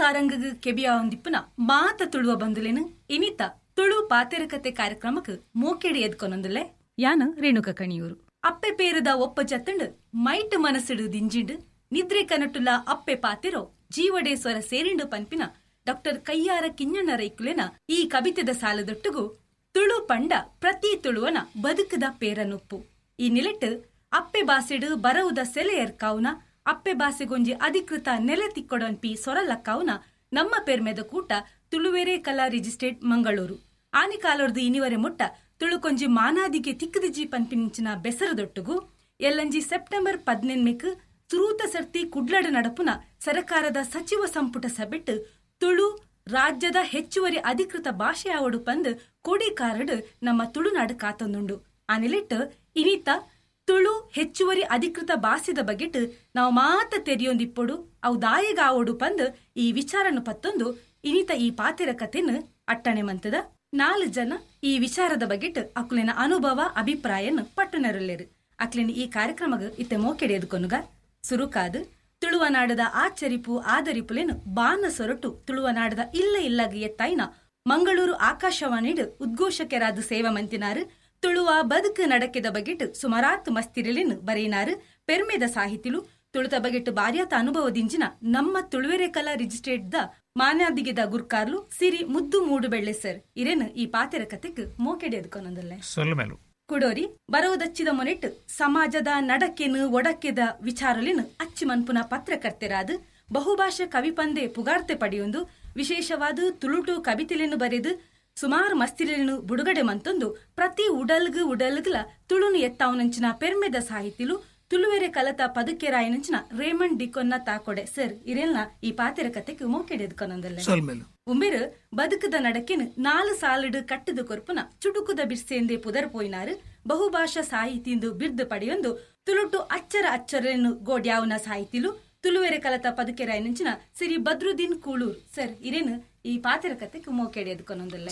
ಸಾರಂಗಗ್ ಕೆಬಿಯಾವಂದಿಪ್ಪುನ ಮಾತ ತುಳುವ ಬಂಧುಲೇನು ಇನಿತ ತುಳು ಪಾತೆರಕತೆ ಕಾರ್ಯಕ್ರಮಕ್ಕೆ ಮೋಕೆಡಿ ಎದ್ಕೊನೊಂದುಲ್ಲೆ. ಯಾನು ರೇಣುಕ ಕಣಿಯೂರು. ಅಪ್ಪೆ ಪೇರದ ಒಪ್ಪ ಜತ್ತಂಡು ಮೈಟ್ ಮನಸ್ಸಿಡು ದಿಂಜಿಂಡು ನಿದ್ರೆ ಕನಟುಲ ಅಪ್ಪೆ ಪಾತೆರೋ ಜೀವಡೆ ಸ್ವರ ಸೇರಿಂಡು ಪನ್ಪಿನ ಡಾಕ್ಟರ್ ಕಯ್ಯಾರ ಕಿಂಜಣ್ಣ ರೈಕುಲೆನ ಈ ಕವಿತೆದ ಸಾಲದೊಟ್ಟುಗು ತುಳು ಪಂಡ ಪ್ರತಿ ತುಳುವನ ಬದುಕದ ಪೇರನುಪ್ಪು. ಈ ನಿಲೆಟ್ಟು ಅಪ್ಪೆ ಬಾಸೆಡು ಬರವುದ ಸೆಲೆ ಎರ್ಕಾವುನ, ಅಪ್ಪೆ ಬಾಸೆಗೊಂಜಿ ಅಧಿಕೃತ ನೆಲೆ ತಿಕ್ಕೊಡನ್ಪಿ ಸೊರಲಕ್ಕಾವುನ ನಮ್ಮ ಪೆರ್ಮೆದ ಕೂಟ ತುಳುವೆರೆ ಕಲಾ ರಿಜಿಸ್ಟ್ರೇಟ್ ಮಂಗಳೂರು. ಆನಿಕಾಲೊರ್ದು ಇನಿವರೆ ಮುಟ್ಟ ತುಳುಕೊಂಜಿ ಮಾನಾದಿಗೆ ತಿಕ್ಕದಿಜಿ ಪನ್ಪಿನಿಂಚಿನ ಬೆಸರದೊಟ್ಟುಗು ಎಲ್ಲಂಜಿ ಸೆಪ್ಟೆಂಬರ್ 18 ಸುರೂತ ಸರ್ತಿ ಕುಡ್ಲಡ ನಡಪುನ ಸರಕಾರದ ಸಚಿವ ಸಂಪುಟ ಸಭೆಟ್ಟು ತುಳು ರಾಜ್ಯದ ಹೆಚ್ಚುವರಿ ಅಧಿಕೃತ ಭಾಷೆ ಆವಡು ಪಂದ್ ಕೊಡಿಕಾರಡು ನಮ್ಮ ತುಳುನಾಡು ಕಾತೊಂದುಂಡು. ಆ ನಿಲೆಟ್ಟು ಇನಿತ ತುಳು ಹೆಚ್ಚುವರಿ ಅಧಿಕೃತ ಭಾಷೆದ ಬಗೆಟ್ ನಾವು ಮಾತ ತೆರಿಯೊಂದಿಪ್ಪೊಡು, ಅವು ದಾಯಗಾವೋಡು ಪಂದ್ ಈ ವಿಚಾರನು ಪತ್ತೊಂದು ಇನಿತ ಈ ಪಾತೆರ ಕತೆನು ಅಟ್ಟಣೆ ಮಂತದ 4 ಜನ ಈ ವಿಚಾರದ ಬಗೆಟ್ ಅಕ್ಲೆನ ಅನುಭವ ಅಭಿಪ್ರಾಯನು ಪಟ್ಟಣರುಲ್ಲೇರು. ಅಕ್ಲೆನ ಈ ಕಾರ್ಯಕ್ರಮಗ ಇತ್ತೆ ಮೋಕೆಡೆ ಎದುಕೊನುಗ ಸುರುಕಾದು ತುಳುವನಾಡದ ಆಚರಿಪು ಆದರಿಪುಲೇನು ಬಾನ ಸೊರಟು ತುಳುವನಾಡದ ಇಲ್ಲ ಇಲ್ಲಗ ಎತ್ತಾಯಿನ ಮಂಗಳೂರು ಆಕಾಶವಾಣಿಡು ಉದ್ಘೋಷಕರಾದ ಸೇವಾ ಮಂತಿನಾರು ತುಳುವ ಬದುಕು ನಡಕೆದ ಬಗೆಟ್ ಸುಮಾರಾತ್ ಮಸ್ತಿರಲೇನು ಬರೆಯಿನಾರು ಪೆರ್ಮೆದ ಸಾಹಿತಿಲು ತುಳುತ ಬಗೆಟ್ ಬಾರ್ಯಾತ ಅನುಭವದಿಂಜಿನ ನಮ್ಮ ತುಳುವೆರೆ ಕಲಾ ರಿಜಿಸ್ಟ್ರೇಟ್ the ಮಾನ್ಯಾದಿಗೆದ ಗುರ್ಕಾರ್ಲು ಸಿರಿ ಮುದ್ದು ಮೂಡುಬೆಳ್ಳೆ ಸರ್ ಇರೇನು ಈ ಪಾತೆರ ಕತೆಕ್ ಮೋಕೆಡೆ ಎದುಕೊನೊಂದಲ್ಲೆ. ಕುಡೋರಿ ಬರವುದಚ್ಚಿದ ಮೊನೆಟ್ ಸಮಾಜದ ನಡಕೆನು ಒಡಕೆದ ವಿಚಾರಲಿನು ಅಚ್ಚಿ ಮನ್ಪುನ ಪತ್ರಕರ್ತರಾದ ಬಹುಭಾಷೆ ಕವಿಪಂದೆ ಪುಗಾರ್ತೆ ಪಡೆಯೊಂದು ವಿಶೇಷವಾದ ತುಳುಟು ಕವಿತೆಲೆನು ಬರೆದು ಸುಮಾರು ಮಸ್ತಿರನ್ನು ಬುಡುಗಡೆ ಮಂತೊಂದು ಪ್ರತಿ ಉಡಲ್ಗು ಉಡಲ್ಗ್ಲ ತುಳುನು ಎತ್ತಾವನಂಚಿನ ಪೆರ್ಮೆದ ಸಾಹಿತಿಲು ತುಳುವೆರೆ ಕಲತ ಪದುಕೆರಾಯನಂಚಿನ ರೇಮಂಡ್ ಡಿಕೊನ್ನ ತಾಕೊಡೆ ಸರ್ ಇರೆಲ್ನ ಈ ಪಾತೆರ ಕತೆಕ್ ಮೋಕೆಡೆ ಎದುಕೊನೊಂದಲ್ಲೆ. ಉಂಬೆರು ಬದುಕದ ನಡಕೆನು 4 ಸಾಲಿಡು ಕಟ್ಟದ ಕೊರ್ಪುನ ಚುಟುಕುದ ಬಿರ್ಸೆಂದೆ ಪುದರ್ ಪೋಯಿನಾರು ಬಹುಭಾಷಾ ಸಾಹಿತಿಂದು ಬಿರ್ದು ಪಡೆಯೊಂದು ತುಳುಟು ಅಚ್ಚರ ಅಚ್ಚರನ್ನು ಗೋಡ್ಯಾವನ ಸಾಹಿತಿಲು ತುಳುವೆರೆ ಕಲತ ಪದುಕೆರಾಯನಂಚಿನ ಸಿರಿ ಬದ್ರುದ್ದೀನ್ ಕೂಳೂರ್ ಸರ್ ಇರೇನು ಈ ಪಾತೆರ ಕತೆಕ್ ಮೋಕೆಡೆ ಎದುಕೊನೊಂದಲ್ಲೆ.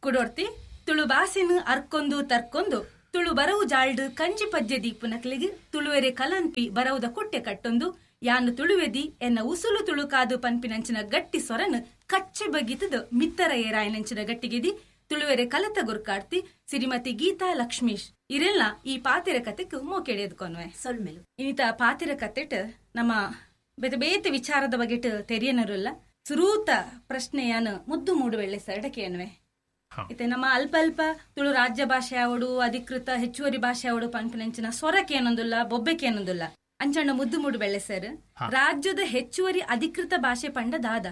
ಕುಡೋರ್ತಿ ತುಳು ಭಾಷೆನು ಅರ್ಕೊಂದು ತರ್ಕೊಂದು ತುಳು ಬರವು ಜಾಲ್ಡು ಕಂಜಿ ಪಜ್ಜೆ ದೀಪುನಕ್ಲಿಗೆ ತುಳುವೆರೆ ಕಲನ್ಪಿ ಬರವುದ ಕೊಟ್ಟೆ ಕಟ್ಟೊಂದು ಯಾನು ತುಳುವೆದಿ ಎನ್ನ ಉಸುಲು ತುಳುಕಾದು ಪನ್ಪಿನಂಚಿನ ಗಟ್ಟಿ ಸೊರನು ಕಚ್ಚೆ ಬಗ್ಗಿತದ ಮಿತ್ತರ ಏರಾಯನಂಚಿನ ಗಟ್ಟಿಗೆದಿ ತುಳುವೆರೆ ಕಲತ ಗುರ್ಕಾಡ್ತಿ ಶ್ರೀಮತಿ ಗೀತಾ ಲಕ್ಷ್ಮೀಶ್ ಇರೆಲ್ಲ ಈ ಪಾತೆರ ಕತೆಕ್ ಮೋಕೆಡೆ ಎದುಕೊನ್ವೆ. ಇನ್ನಿತ ಪಾತೆರ ಕತೆಟ್ ನಮ್ಮ ಬೇತೆ ಬೇತೆ ವಿಚಾರದ ಬಗೆಟ್ ತೆರಿಯನರುಲ್ಲ. ಸುರೂತ ಪ್ರಶ್ನೆಯಾನು ಮುದ್ದು ಮೂಡುವೆಳ್ಳೆ ಸರಡಕೆಯನ್ವೆ. ಇತ್ತೆ ನಮ್ಮ ಅಲ್ಪ ಅಲ್ಪ ತುಳು ರಾಜ್ಯ ಭಾಷೆ ಆವಡು ಅಧಿಕೃತ ಹೆಚ್ಚುವರಿ ಭಾಷೆ ಆವಡು ಪನ್ಪಿನಂಚಿನ ಸೊರಕೆ ಏನೊಂದುಲ್ಲ ಬೊಬ್ಬೆಕೆ ಏನೊಂದುಲ್ಲ. ಅಂಚಣ್ಣ ಮುದ್ದು ಮೂಡು ಬೆಳ್ಳೆ ಸರ್, ರಾಜ್ಯದ ಹೆಚ್ಚುವರಿ ಅಧಿಕೃತ ಭಾಷೆ ಪಂಡ ದಾದ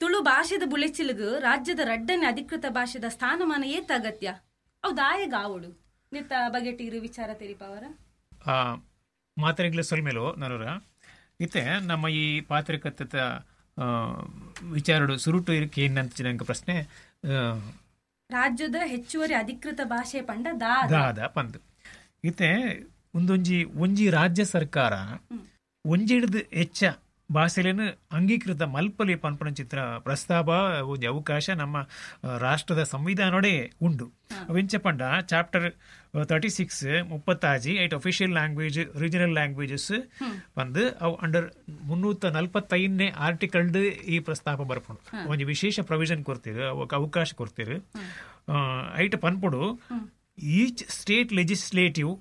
ತುಳು ಭಾಷೆದ ಬುಳೆಚಿಲುಗು ರಾಜ್ಯದ ರಡ್ಡನೆ ಅಧಿಕೃತ ಭಾಷೆದ ಸ್ಥಾನಮಾನ ಏತ ಅಗತ್ಯ ಅವು ದಾಯಗ ಆವಡು ನಿತ್ತ ಬಗೆಟ್ ಇರು ವಿಚಾರ ತೆರಿಪವರ ಮಾತ್ರೆಗಳ ಸೊಲ್ಮೇಲೋ ನರೂರ. ಇತ್ತೆ ನಮ್ಮ ಈ ಪಾತ್ರಿಕತ್ತ ವಿಚಾರಡು ಸುರುಟು ಇರಕ್ಕೆ ಏನಂತ ಪ್ರಶ್ನೆ, ರಾಜ್ಯದ ಹೆಚ್ಚುವರಿ ಅಧಿಕೃತ ಭಾಷೆ ಪಂಡ ದಾದ ಪಂದ್. ಇತ್ತೆ ಒಂದೊಂಜಿ ಒಂಜಿ ರಾಜ್ಯ ಸರ್ಕಾರ ಒಂಜಿಡ್ದು ಹೆಚ್ಚ ಭಾಷೆಲೇನು ಅಂಗೀಕೃತ ಮಲ್ಪಲಿ ಪನ್ಪನ ಚಿತ್ರ ಪ್ರಸ್ತಾಪ ಒಂಜಿ ಅವಕಾಶ ನಮ್ಮ ರಾಷ್ಟ್ರದ ಸಂವಿಧಾನೋಡೆ ಉಂಡು. ಅವೆಂಚ ಪಂಡ ಚಾಪ್ಟರ್ 36 36 ಐಟ್ ಅಫಿಷಿಯಲ್ ಲ್ಯಾಂಗ್ವೇಜ್ ರೀಜನಲ್ ಲ್ಯಾಂಗ್ವೇಜಸ್ ಬಂದು ಅವು ಅಂಡರ್ 345ನೇ ಆರ್ಟಿಕಲ್ಡ್ ಈ ಪ್ರಸ್ತಾಪ ಬರ್ಪುಂಡು. ಒಂಜಿ ವಿಶೇಷ ಪ್ರೊವಿಷನ್ ಕೊಡ್ತೀರು, ಅವಕ್ಕೆ ಅವಕಾಶ ಕೊಡ್ತೀರು. ಐಟ್ ಪನ್ಪುಡು each state legislative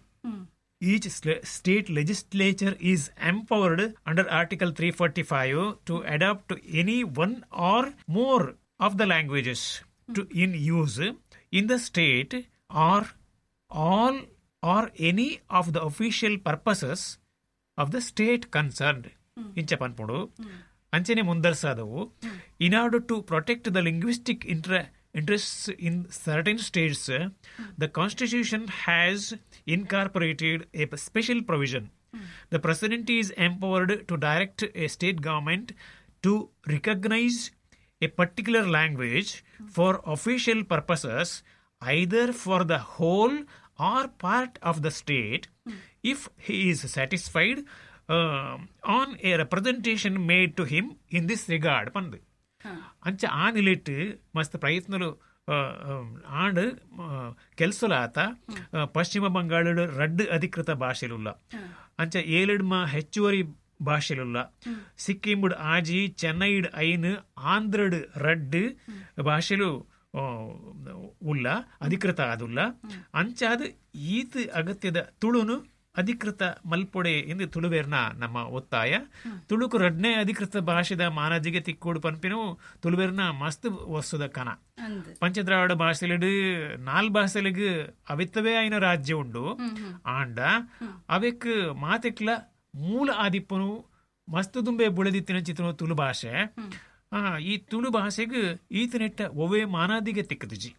Each state legislature is empowered under Article 345 to adopt any one or more of the languages to in use in the state or all or any of the official purposes of the state concerned. Incha panpudu anchene mundarsadavu in order to protect the linguistic interests in certain states, the Constitution has incorporated a special provision. The President is empowered to direct a state government to recognize a particular language for official purposes, either for the whole or part of the state, if he is satisfied on a representation made to him in this regard. Pandu. ಅಂಚ ಆ ನಿಲೆಟ್ ಮಸ್ತ್ ಪ್ರಯತ್ನಲು ಆಂಡ್ ಕೆಲಸಲಾತ ಪಶ್ಚಿಮ ಬಂಗಾಳಡ್ ರಡ್ಡ್ ಅಧಿಕೃತ ಭಾಷೆಲುಲ್ಲ. ಅಂಚ ಏಳೆಡ್ಮ ಹೆಚ್ಚುವರಿ ಭಾಷೆಲುಲ್ಲ. ಸಿಕ್ಕಿಂಬುಡ್ 6, ಚೆನ್ನೈಡ್ 5, ಆಂಧ್ರಡ್ 2 ಭಾಷೆಲು ಉಲ್ಲ ಅಧಿಕೃತ ಆದುಲ್ಲ. ಅಂಚಾದ ಈತ ಅಗತ್ಯದ ತುಳುನು ಅಧಿಕೃತ ಮಲ್ಪೊಡೆ ಎಂದು ತುಳುವೇರ್ನ ನಮ್ಮ ಒತ್ತಾಯ. ತುಳುಕು 2ನೇ ಅಧಿಕೃತ ಭಾಷೆದ ಮಾನಜಿಗೆ ತಿಕ್ಕೋಡು ಪನ್ಪಿನವು ತುಳುವೇರ್ನ ಮಸ್ತ್ ವರ್ಷದ ಕನ. ಪಂಚದ್ರಾವಿಡ ಭಾಷೆಲೆಡು 4 ಭಾಷೆಲೆಗ್ ಅವಿತ್ತವೇ ಆಯ್ನ ರಾಜ್ಯ ಉಂಡು. ಆಂಡ ಅವೆಕ್ ಮಾತೆಕ್ಲ ಮೂಲ ಆದಿಪ್ಪನು ಮಸ್ತ್ ದುಂಬೆ ಬುಳೆದಿತ್ತಿನ ಚಿತ್ರ ತುಳು ಭಾಷೆ. ಈ ತುಳು ಭಾಷೆಗೆ ಈತನೆಟ್ಟ ಒವೇ ಮಾನಾದಿಗೆ ತಿಕ್ಕದುಜಿ.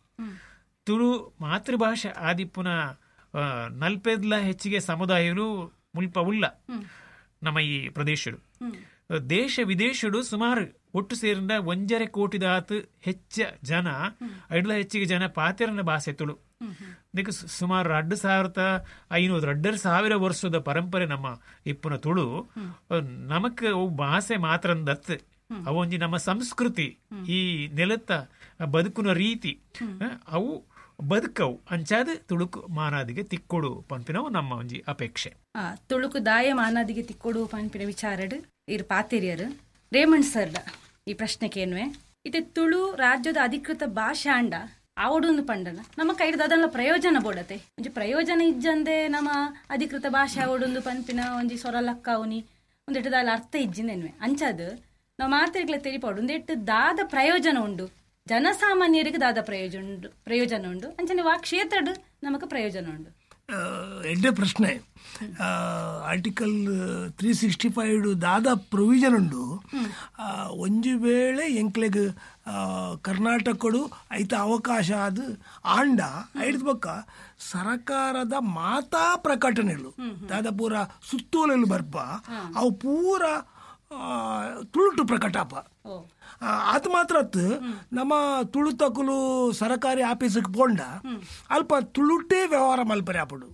ತುಳು ಮಾತೃಭಾಷೆ ಆದಿಪ್ಪುನ 40 ಹೆಚ್ಚಿಗೆ ಸಮುದಾಯಗಳು ಮುಲ್ಪ ಉಲ್ಲ ನಮ್ಮ ಈ ಪ್ರದೇಶಡು. ದೇಶ ವಿದೇಶಡು ಸುಮಾರು ಒಟ್ಟು ಸೇರಿಂದ 1.5 ಕೋಟಿದಾತು ಹೆಚ್ಚ ಜನ, 5 ಹೆಚ್ಚಿಗೆ ಜನ ಪಾತೆರನ ಭಾಷೆ ತುಳು. ಇದಕ್ಕೆ ಸುಮಾರು 2500 2,500 ವರ್ಷದ ಪರಂಪರೆ ನಮ್ಮ ಇಪ್ಪುನ ತುಳು. ನಮಕ್ ಅವು ಭಾಷೆ ಮಾತ್ರ ದತ್ತು, ಅವೊಂಜಿ ನಮ್ಮ ಸಂಸ್ಕೃತಿ, ಈ ನೆಲತ್ತ ಬದುಕುನ ರೀತಿ ಅವು ಬದುಕವು. ಅಂಚಾದ ತುಳುಕು ಮಾನಾದಿಗೆ ತಿಕ್ಕೊಡು ಪನ್ಪಿನವು ನಮ್ಮ ಒಂಜಿ ಅಪೇಕ್ಷೆ. ತುಳುಕು ದಾಯ ಮಾನಾದಿಗೆ ತಿಕ್ಕೊಡು ಪನ್ಪಿನ ವಿಚಾರಡು ಇರ್ ಪಾತೆರಿಯರು. ರೇಮಂಡ್ ಸರ್ ಈ ಪ್ರಶ್ನೆಕೇನ್ವೆ, ಇತ್ತೆ ತುಳು ರಾಜ್ಯದ ಅಧಿಕೃತ ಭಾಷೆ ಅಂಡ ಆವಡೊಂದು ಪಂಡನ ನಮ್ಮ ಕೈಡ್ದ ಅದನ್ನ ಪ್ರಯೋಜನ ಬೋಡತೆ. ಒಂಜಿ ಪ್ರಯೋಜನ ಇಜ್ಜಂದೆ ನಮ್ಮ ಅಧಿಕೃತ ಭಾಷೆ ಆವಡೊಂದು ಪನ್ಪಿನ ಒಂಜಿ ಸೊರಲಕ್ಕಾವುನಿ ಒಂದೆಟ್ಟು ದಾಲ ಅರ್ಥ ಇಜ್ಜಿಂದೆನ್ವೆ. ಅಂಚಾದ ನಾವು ಮಾತೆರ್ಗ್ಲ ತೆರಿಪಾಡು ಒಂದೆಟ್ಟು ದಾದ ಪ್ರಯೋಜನ ಉಂಡು, ಜನಸಾಮಾನ್ಯರಿಗೆ ದಾದ ಪ್ರಯೋಜನ ಉಂಡು, ಅಂಚನೆ ವಾ ಕ್ಷೇತ್ರಡ್ ನಮಕ್ ಪ್ರಯೋಜನ ಉಂಡು. ಎಡ್ಡೆ ಪ್ರಶ್ನೆ. ಆರ್ಟಿಕಲ್ 365 ದಾದ ಪ್ರೊವಿಷನ್ ಉಂಡು. ಒಂಜಿ ವೇಳೆ ಎಂಕ್ಲೆಗ್ ಕರ್ನಾಟಕಡು ಐತ ಅವಕಾಶ ಅದು ಆಂಡ ಐಡ್ದ ಬೊಕ್ಕ ಸರಕಾರದ ಮಾತಾ ಪ್ರಕಟಣೆಗಳು ದಾದ ಪೂರ ಸುತ್ತೋಲೆಲು ಬರ್ಪ ಅವು ಪೂರ ತುಳುಟು ಪ್ರಕಟಾಪ. ಆತ ಮಾತ್ರ ನಮ್ಮ ತುಳುತಕುಲು ಸರಕಾರಿ ಆಫೀಸಿಗೆ ಪೋಂಡ ಅಲ್ಪ ತುಳುಟೇ ವ್ಯವಹಾರ ಮಲ್ಪರೆ ಆಪಡು,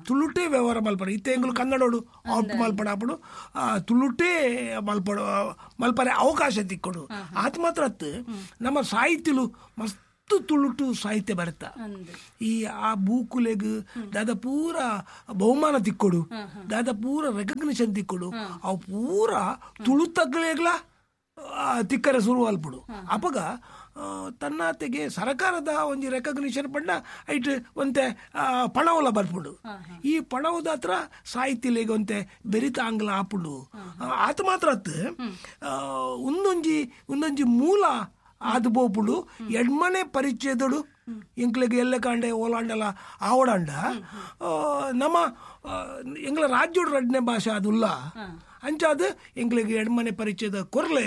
ತುಳುಟೇ ವ್ಯವಹಾರ ಮಲ್ಪರೆ. ಇತ್ತೆ ಎಂಗುಲು ಕನ್ನಡೋಡು ಔಟ್ ಮಲ್ಪಡ ಆಪಡು, ತುಳುಟೇ ಮಲ್ಪಡು ಮಲ್ಪರೆ ಅವಕಾಶ ತಿಕ್ಕೊಡು. ಆತ ಮಾತ್ರ ನಮ್ಮ ಸಾಹಿತ್ಯಲು ಮಸ್ತ್ ತುಳುಟು ಸಾಹಿತ್ಯ ಬರುತ್ತ. ಈ ಆ ಬೂಕುಲೆಗ್ ದಾದ ಪೂರ ಬಹುಮಾನ ತಿಕ್ಕೊಡು, ದಾದ ಪೂರ ರೆಕಗ್ನಿಷನ್ ತಿಕ್ಕೊಡು, ಅವು ಪೂರ ತುಳುತಗ್ಲೆಗ್ಲ ತಿಕ್ಕರೆ ಶುರು ಅಲ್ಪಡು. ಅಪಗ ತನ್ನಾತೆಗೆ ಸರಕಾರದ ಒಂಜಿ ರೆಕಗ್ನಿಷನ್ ಪಂಡ ಐಟ್ ಒಂತೆ ಪಣವಲ ಬರ್ಪುಡು. ಈ ಪಣವದ ಹತ್ರ ಸಾಹಿತ್ಯಲೆಗ್ ಒಂತೆ ಬೆರಿತ ಆಂಗ್ಲ ಆಪುಡು. ಆತ ಮಾತ್ರ ಒಂದೊಂಜಿ ಒಂದೊಂಜಿ ಮೂಲ ಆದು ಬೋಪುಡು. ಎಡ್ಮನೆ ಪರಿಚಯದಡು ಎಂಕ್ಲೆಗ್ ಎಲ್ಲೆ ಕಾಂಡೆ ಓಲಾಂಡಲ ಆವಡಾಂಡ ನಮ್ಮ ಎಂಗ್ಲ ರಾಜ್ಯೋಡು ರಡ್ನೆ ಭಾಷೆ ಅದುಲ್ಲ. ಅಂಚಾದ ಎಂಕ್ಲೆಗ್ ಎಡ್ಮನೆ ಪರಿಚಯದ ಕೊರ್ಲೆ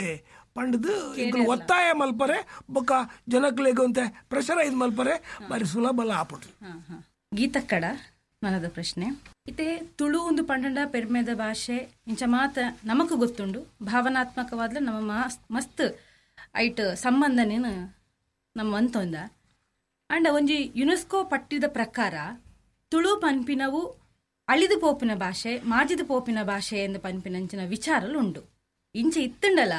ಪಂಡದು ಎಂಕ್ಲು ಒತ್ತಾಯ ಮಲ್ಪರೆ ಬೊಕ್ಕ ಜನಕ್ಲೆಗ್ ಒಂತೆ ಪ್ರೆಷರೈಸ್ ಮಲ್ಪರೆ ಬಾರಿ ಸುಲಭಲ ಆಪುಡು. ಗೀತಕ್ಕಡ ಮನದ ಪ್ರಶ್ನೆ, ಇತ್ತೆ ತುಳು ಒಂದು ಪಂಡಂಡ ಪೆರ್ಮೆದ ಭಾಷೆ ಇಂಚ ಮಾತ ನಮಕ್ ಗೊತ್ತುಂಡು. ಭಾವನಾತ್ಮಕವಾದ್ಲ ನಮ್ಮ ಮಸ್ತ್ ಐಟ್ ಸಂಬಂಧನೇನು ನಮ್ಮ ಅಂತೊಂದ. ಅಂಡ ಒಂಜಿ ಯುನೆಸ್ಕೋ ಪಟ್ಟಿದ ಪ್ರಕಾರ ತುಳು ಪನ್ಪಿನವು ಅಳಿದು ಪೋಪಿನ ಭಾಷೆ, ಮಾಜಿದ ಪೋಪಿನ ಭಾಷೆ ಎಂದು ಪನ್ಪಿನಂಚಿನ ವಿಚಾರಲು ಉಂಡು. ಇಂಚೆ ಇತ್ತುಂಡಲ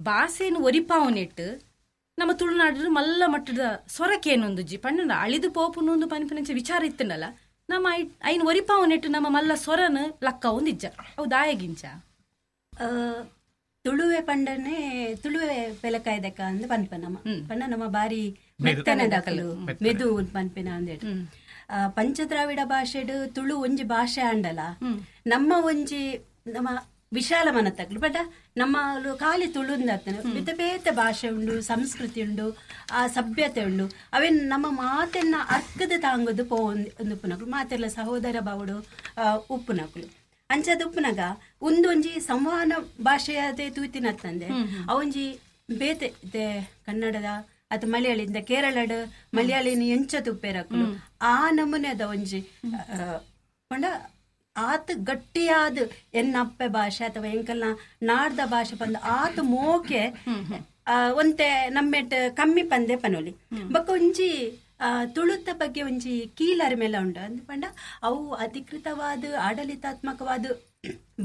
ಭಾಷೆಯನ್ನು ಒರಿಪಾವನಿಟ್ಟು ನಮ್ಮ ತುಳುನಾಡು ಮಲ್ಲ ಮಟ್ಟದ ಸೊರಕೇನೊಂದುಜ್ಜಿ ಪಂಡ ಅಳಿದು ಪೋಪುನೊಂದು ಪನ್ಪಿನಂಚ ವಿಚಾರ ಇತ್ತುಂಡಲ ನಮ್ಮ ಐನ್ ಒರಿಪಾವನಿಟ್ಟು ನಮ್ಮ ಮಲ್ಲ ಸೊರನು ಲಕ್ಕ ಒಂದಿಜ್ಜ ಅವು ದಾಯಗಿಂಚ. ತುಳುವೆ ಪಂಡನೆ ತುಳುವೆ ಪೆಲಕಾಯ್ದಕ್ಕ ಅಂದ್ ಪನ್ಪ ನಮ್ಮ ಪಂಡ ನಮ್ಮ ಬಾರಿ ಮೆತ್ತನೆ ದಾಖಲು ಮೆದು ಪನ್ಪಿನ ಅಂದೇಟು. ಪಂಚದ್ರಾವಿಡ ಭಾಷೆಡು ತುಳು ಒಂಜಿ ಭಾಷೆ ಅಂಡಲ ನಮ್ಮ ಒಂಜಿ ನಮ್ಮ ವಿಶಾಲ ಮನತಕ್ಲು ಬಟ್ ನಮ್ಮ ಖಾಲಿ ತುಳುಂದರ್ತನೆ ಬೇತೆ ಬೇತೆ ಭಾಷೆ ಉಂಡು, ಸಂಸ್ಕೃತಿ ಉಂಡು, ಆ ಸಭ್ಯತೆ ಉಂಡು. ಅವೇನ್ ನಮ್ಮ ಮಾತೆನ್ನ ಅರ್ಕದ ತಾಂಗದು ಪೋ ಉಪ್ಪುನಕ್ಲು ಮಾತೆಲ್ಲ ಸಹೋದರ ಬಾವುಡು ಉಪ್ಪುನಕ್ಲು. ಅಂಚದ ಉಪ್ಪುನಗ ಒಂದೊಂಜಿ ಸಂವಹನ ಭಾಷೆಯದೇ ತೂತಿನತ್ತಂದೆ ಅವೊಂಜಿ ಬೇತೆ ಕನ್ನಡದ ಅಥವಾ ಮಲಯಾಳಿಂದ ಕೇರಳಡ್ ಮಲಯಾಳಿನ ಎಂಚ ತುಪ್ಪೇರಕ್ಲು ಆ ನಮೂನೆದ ಒಂಜಿ ಪಂಡ ಆತ ಗಟ್ಟಿಯಾದ ಎನ್ನಪ್ಪೆ ಭಾಷೆ ಅಥವಾ ಎಂಕಲ್ನ ನಾಡ್ದ ಭಾಷೆ ಬಂದು ಆತ ಮೋಕೆ ಒಂತೆ ನಮ್ಮೆಟ್ ಕಮ್ಮಿ ಪಂದೆ ಪನೋಲಿ. ಬೊಕ್ಕ ಒಂಜಿ ತುಳುತ್ತ ಬಗ್ಗೆ ಒಂಜಿ ಕೀಲರ್ ಮೇಲೆ ಉಂಡು ಅಂದ್ ಪಂಡ ಅವು ಅಧಿಕೃತವಾದ ಆಡಳಿತಾತ್ಮಕವಾದ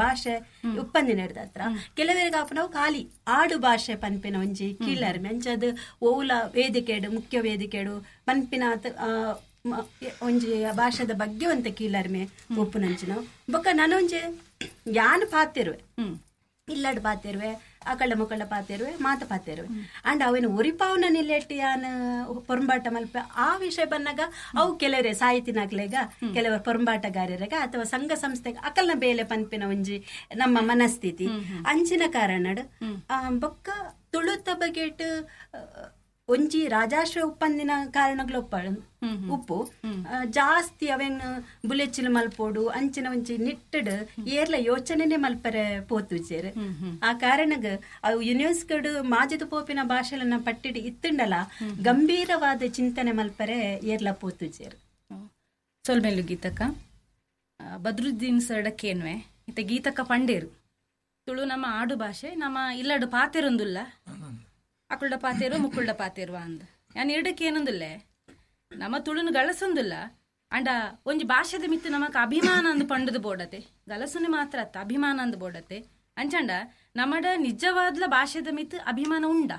ಭಾಷೆ ಉಪ್ಪಂದಿನ ಹತ್ರ ಕೆಲವರಿಗೆ ನಾವು ಖಾಲಿ ಆಡು ಭಾಷೆ ಪನ್ಪಿನ ಒಂಜಿ ಕೀಲರ್ಮೆ ಅಂಚದ ಓಲ ವೇದಿಕೆಡು ಮುಖ್ಯ ವೇದಿಕೆಡು ಪನ್ಪಿನ ಒಂಜಿ ಭಾಷೆದ ಬಗ್ಗೆ ಒಂತ ಕೀಳರಿಮೆ ಒಪ್ಪುನಂಚಿನ ಬೊಕ್ಕ ನಾನೊಂಜಿ ಯಾನ್ ಪಾತಿರುವೆ ಇಲ್ಲಡ್ ಪಾತಿರುವೆ ಅಕಳ್ಳ ಮುಕ್ಕಳ್ಳ ಪಾತಿರುವೆ ಮಾತ ಪಾತಿರುವೆ ಅಂಡ್ ಅವೇನು ಒರಿಪಾವನ ನಿಲೆಟ್ ಯಾನ್ ಪೊರಂಬಾಟ ಮಲ್ಪ ಆ ವಿಷಯ ಬಂದಾಗ ಅವು ಕೆಲವರೇ ಸಾಹಿತಿನಾಗ್ಲೇಗ ಕೆಲವರು ಪೊರಂಬಾಟಗಾರರಾಗ ಅಥವಾ ಸಂಘ ಸಂಸ್ಥೆಗೆ ಅಕಲ್ನ ಬೇಲೆ ಪನ್ಪಿನ ಒಂಜಿ ನಮ್ಮ ಮನಸ್ಥಿತಿ ಅಂಚಿನ ಕಾರಣಡ್ ಬೊಕ್ಕ ತುಳುತ ಬಗೆಟ್ ಒಂಜಿ ರಾಜಾಶ್ರಯ ಉಪ್ಪಂದಿನ ಕಾರಣಗಳು ಉಪ್ಪು ಜಾಸ್ತಿ ಅವೇನ್ ಬುಲೆಚ್ಚಿಲು ಮಲ್ಪೋಡು ಅಂಚಿನ ಒಂಜಿ ನಿಟ್ಟಡ್ ಏರ್ಲ ಯೋಚನೆನೆ ಮಲ್ಪರೆ ಪೋತುಜೇರ್. ಆ ಕಾರಣಗ ಅವು ಯುನೆಸ್ಕೋಡ್ ಮಾಜದ ಪೋಪಿನ ಭಾಷೆಲನ್ನ ಪಟ್ಟಿಡ್ ಇತ್ತುಂಡಲ ಗಂಭೀರವಾದ ಚಿಂತನೆ ಮಲ್ಪರೆ ಏರ್ಲ ಪೋತುಜೇರ್. ಸೊಲ್ಮೇಲು ಗೀತಕ್ಕ ಬದ್ರುದ್ದೀನ್ ಸರ್ಡಕ್ಕೇನ್ವೆ ಇತ್ತ ಗೀತಕ್ಕ ಪಂಡೇರು ತುಳು ನಮ್ಮ ಆಡು ಭಾಷೆ ನಮ್ಮ ಇಲ್ಲಡು ಪಾತೆರೊಂದುಲ್ಲ ಅಕುಲ್ಡ ಪಾತೇರು ಮುಕ್ಕುಲ್ಡ ಪಾತೇರುವ ಅಂದ ಯಾನ್ ಎರಡಕ್ಕೆ ಏನೊಂದಿಲ್ಲ ನಮ್ಮ ತುಳುನು ಗಳಸೊಂದಿಲ್ಲ ಅಂಡ ಒಂಜಿ ಭಾಷೆದ ಮಿತ್ತು ನಮಕ್ ಅಭಿಮಾನ ಅಂದ್ ಪಂಡದು ಬೋಡತೆ ಗಲಸುನೆ ಮಾತ್ರ ಅತ್ತ ಅಭಿಮಾನ ಅಂದ್ ಬೋಡತೆ ಅಂಚಂಡ ನಮ್ಮಡ ನಿಜವಾದ್ಲ ಭಾಷೆದ ಮಿತ್ತು ಅಭಿಮಾನ ಉಂಡ?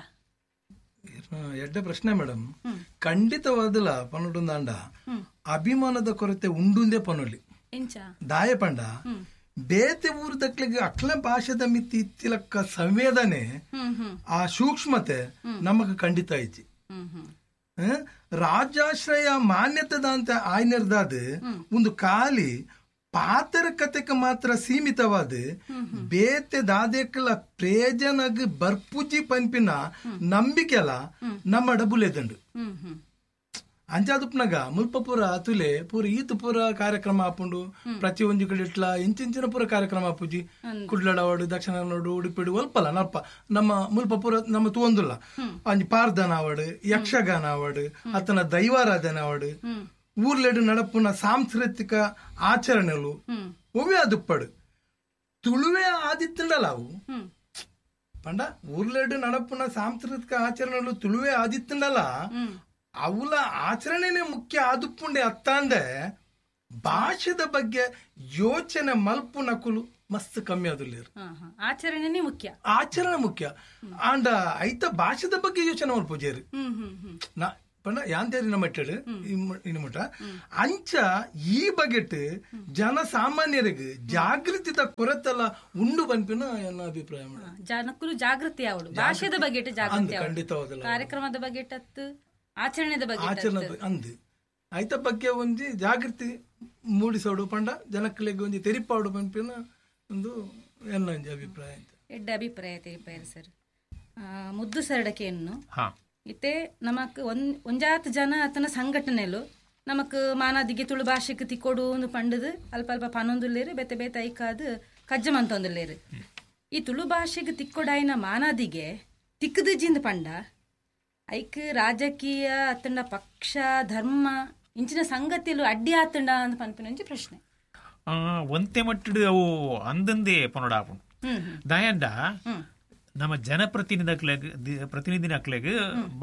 ಎಡ್ಡ ಪ್ರಶ್ನೆ ಮೇಡಮ್. ಖಂಡಿತವಾದಲ ಪನ್ನುಂದಾಂಡ ಅಭಿಮಾನದ ಕೊರತೆ ಉಂಡುಂದೇ ಪನೊಲಿ ದಾಯ ಪಂಡ ಬೇತೆ ಊರು ದಕ್ಲಿಗೆ ಅಕ್ಲ ಭಾಷೆದ ಮಿತಿ ಇತ್ತಿಲಕ್ಕ ಸಂವೇದನೆ ಆ ಸೂಕ್ಷ್ಮತೆ ನಮಗ್ ಖಂಡಿತ ಐತಿ. ರಾಜಾಶ್ರಯ ಮಾನ್ಯತೆದಂತ ಆಯ್ನಿರ್ದಾದ ಒಂದು ಖಾಲಿ ಪಾತರ ಕತೆಗೆ ಮಾತ್ರ ಸೀಮಿತವಾದ ಬೇತೆ ದಾದೇಕಲ ಪ್ರೇಜನಗ್ ಬರ್ಪುಜಿ ಪನ್ಪಿನ ನಂಬಿಕೆಲ ನಮ್ಮ ಡಬುಲೆದಂಡು. ಅಂಚಾದುಪ್ನಾಗ ಮುಲ್ಪ ಪೂರ ತುಲೆ ಪೂರ ಈತ ಪೂರ ಕಾರ್ಯಕ್ರಮ ಆಪುಂಡು ಪ್ರತಿ ಒಂಜಿ ಕಡೆ ಇಟ್ಲ ಇಂಚಿಂಚಿನ ಪೂರ ಕಾರ್ಯಕ್ರಮ ಆಪುಜಿ ಕುಡ್ಲಡವಾಡು ದಕ್ಷಿಣ ಕನ್ನಡ ಉಡುಪಿಡು ಒಲ್ಪಲ ನಲ್ಪ ನಮ್ಮ ಮುಲ್ಪ ಪೂರ ನಮ್ಮ ತೂವೊಂದುಲ್ಲ ಅಂಜಿ ಪಾರ್ದನ ಆವಡು ಯಕ್ಷಗಾನ ಆವಡು ಅತನ ದೈವಾರಾಧನೆ ಆವಡು ಊರ್ಲೆಡು ನಡಪುನ ಸಾಂಸ್ಕೃತಿಕ ಆಚರಣೆಲು ಒವ್ವೇ ಅದುಪ್ಪಡು ತುಳುವೆ ಆದಿತ್ತಂಡಲ ಅವು ಪಂಡ ಊರ್ಲೆಡು ನಡಪುನ ಸಾಂಸ್ಕೃತಿಕ ಆಚರಣೆಲು ತುಳುವೆ ಆದಿತ್ತಂಡಲ ಅವಲ ಆಚರಣೆನೇ ಮುಖ್ಯ ಆದುಪ್ಪುಂಡೆ ಅತ್ತಾಂದೆ ಭಾಷೆದ ಬಗ್ಗೆ ಯೋಚನೆ ಮಲ್ಪು ನಕುಲು ಮಸ್ತ್ ಕಮ್ಮಿ ಅದುಲ್ಲೇರು. ಆಚರಣೆನೇ ಮುಖ್ಯ, ಆಚರಣೆ ಮುಖ್ಯ ಆಂಡ ಐತ ಭಾಷೆದ ಬಗ್ಗೆ ಯೋಚನೆ ಮಲ್ಪುಜೇರು ನಾ ಪಂಡ ಯಾಂತೇರಿ ನಮ್ಮ ಇನ್ನು ಮುಟ್ಟ ಅಂಚ ಈ ಬಗೆಟ್ ಜನಸಾಮಾನ್ಯರಿಗೆ ಜಾಗೃತಿದ ಕೊರತೆಲ್ಲ ಉಂಡು ಪನ್ಪಿನ ಎನ್ನ ಅಭಿಪ್ರಾಯ. ಜನಕ್ಕೂ ಜಾಗೃತಿ ಅವಳು ಭಾಷೆದ ಬಗ್ಗೆ ಜಾಗೃತಿ ಖಂಡಿತವಾದಲ್ಲ, ಕಾರ್ಯಕ್ರಮದ ಬಗ್ಗೆ ಆಚರಣೆದ ಬಗ್ಗೆ ಆಚರಣೆ ಅಂದ್ ಐತ ಬಗ್ಗೆ ಒಂಜಿ ಜಾಗೃತಿ ಮೂಡಿಸೋಡು ಪಂಡ ಜನಕ್ಕಳಿಗೆ ಒಂಜಿ ತೆರಿಪಾಡು ಪನ್ಪಿನ ಒಂದು ಎಲ್ಲ ಒಂಜಿ ಅಭಿಪ್ರಾಯ. ಎಡ್ಡ ಅಭಿಪ್ರಾಯ ತೆರಿಪಾಯರು ಸರ್. ಮುದ್ದು ಸರಡಕೆಯನ್ನು ಇತ್ತೆ ನಮಕ್ ಒಂಜಾತ್ ಜನ ಆತನ ಸಂಘಟನೆಲು ನಮಕ್ ಮಾನಾದಿಗೆ ತುಳು ಭಾಷೆಗೆ ತಿಕ್ಕೊಡು ಒಂದು ಪಂಡದು ಅಲ್ಪ ಅಲ್ಪ ಪನೊಂದುಲ್ಲೇರು ಬೇತೆ ಬೇತೆ ಐಕಾದು ಕಜ್ಜಮಂತೊಂದುಲ್ಲೇರು. ಈ ತುಳು ಭಾಷೆಗೆ ತಿಕ್ಕೊಡಾಯಿನ ಮಾನಾದಿಗೆ ತಿಕ್ಕದಿಜಿಂದ ಪಂಡ ಐಕ್ ರಾಜಕೀಯ ಅತ್ತಂಡ ಪಕ್ಷ ಧರ್ಮ ಇಂಚಿನ ಸಂಗತಿಲು ಅಡ್ಡಿ ಆತಂಡ ಅಂತ ಪನ್ಪಿನ ಪ್ರಶ್ನೆ. ಒಂತೆ ಮಟ್ಟಡು ಅವು ಅಂದಂದೇ ಪನೊಡಾಪುಂಡು ದಯಂಡ ನಮ್ಮ ಜನಪ್ರತಿನಿಧಿನಕ್ಲೆಗ್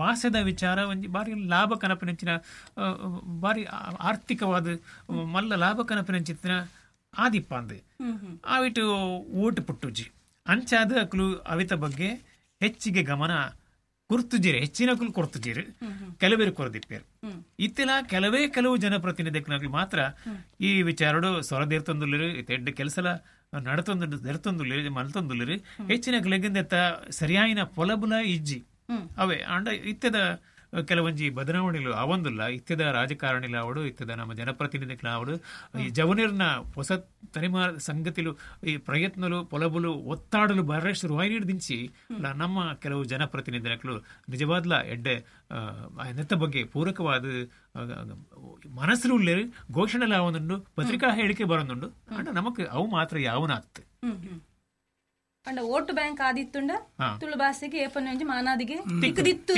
ಭಾಷೆದ ವಿಚಾರ ಒಂಜಿ ಬಾರಿ ಲಾಭ ಕನಪಿನಂಚಿನ ಬಾರಿ ಆರ್ಥಿಕವಾದ ಮಲ್ಲ ಲಾಭ ಕನಪಿನಂಚಿನ ಆದಿಪ್ಪ ಅಂದ್ ಆವಿಟ್ಟು ಓಟು ಪುಟ್ಟುಜಿ ಅಂಚಾದ ಅಕ್ಲು ಅವಿತ ಬಗ್ಗೆ ಹೆಚ್ಚಿಗೆ ಗಮನ ಕೊರ್ತುಜೀರಿ, ಹೆಚ್ಚಿನ ಕುಲು ಕೊರ್ತುಜೀರಿ, ಕೆಲವರು ಕೊರದಿಪ್ಪೇರು. ಇತ್ತೆಲ್ಲ ಕೆಲವೇ ಕೆಲವು ಜನಪ್ರತಿನಿಧಿಗಳು ಮಾತ್ರ ಈ ವಿಚಾರಡು ಸೊರದೇರ್ತೊಂದುಲ್ಲೇರು, ಎಡ್ಡೆ ಕೆಲಸಲ ನಡತೊಂದು ದೆರ್ತೊಂದುಲ್ಲೇರು ಮಲ್ತೊಂದುಲ್ಲೇರು. ಹೆಚ್ಚಿನ ಲೆಗ್ಗಿಂದೆತ್ತ ಸರಿಯಾಯಿನ ಪೊಲಬುಲ ಇಜ್ಜಿ ಅವೇ ಅಂಡ ಇತ್ತೆದ ಕೆಲವೊಂಜಿ ಬದಲಾವಣೆಗಳು ಅವೊಂದುಲ್ಲ. ಇತ್ತೆದ ರಾಜಕಾರಣಿಲ ಅವಡು, ಇತ್ತೆದ ನಮ್ಮ ಜನಪ್ರತಿನಿಧಿಗಳ ಅವಡು, ಈ ಜವನಿರ್ನ ಹೊಸ ತಲೆಮಾರ ಸಂಗತಿಲು ಈ ಪ್ರಯತ್ನಲು ಪೊಲಬುಲು ಒತ್ತಾಡಲು ಬರ ಶುರುವಾಯಿನಿಡ್ದಿಂಚಿ ನಮ್ಮ ಕೆಲವು ಜನಪ್ರತಿನಿಧಿಗಳು ನಿಜವಾದ್ಲ ಎಡ್ಡೆ ನೆತ್ತ ಬಗ್ಗೆ ಪೂರಕವಾದ ಮನಸ್ಸು ಉಳ್ಳೇರು ಘೋಷಣೆ ಅವನುಂಡು, ಪತ್ರಿಕಾ ಹೇಳಿಕೆ ಬರೋದುಂಡು. ಅಂಡ ನಮಕ್ ಅವು ಮಾತ್ರ ಯಾವನಾಗ್ತದೆ ಅಂಡ ಓಟು ಬ್ಯಾಂಕ್ ಆದಿತ್ತುಂಡ ತುಳು ಭಾಷೆಗೆ ಏಪನೊಂಜಿ ಮಾನಾದಿಗೆ ತಿಕ್ಕದಿತ್ತು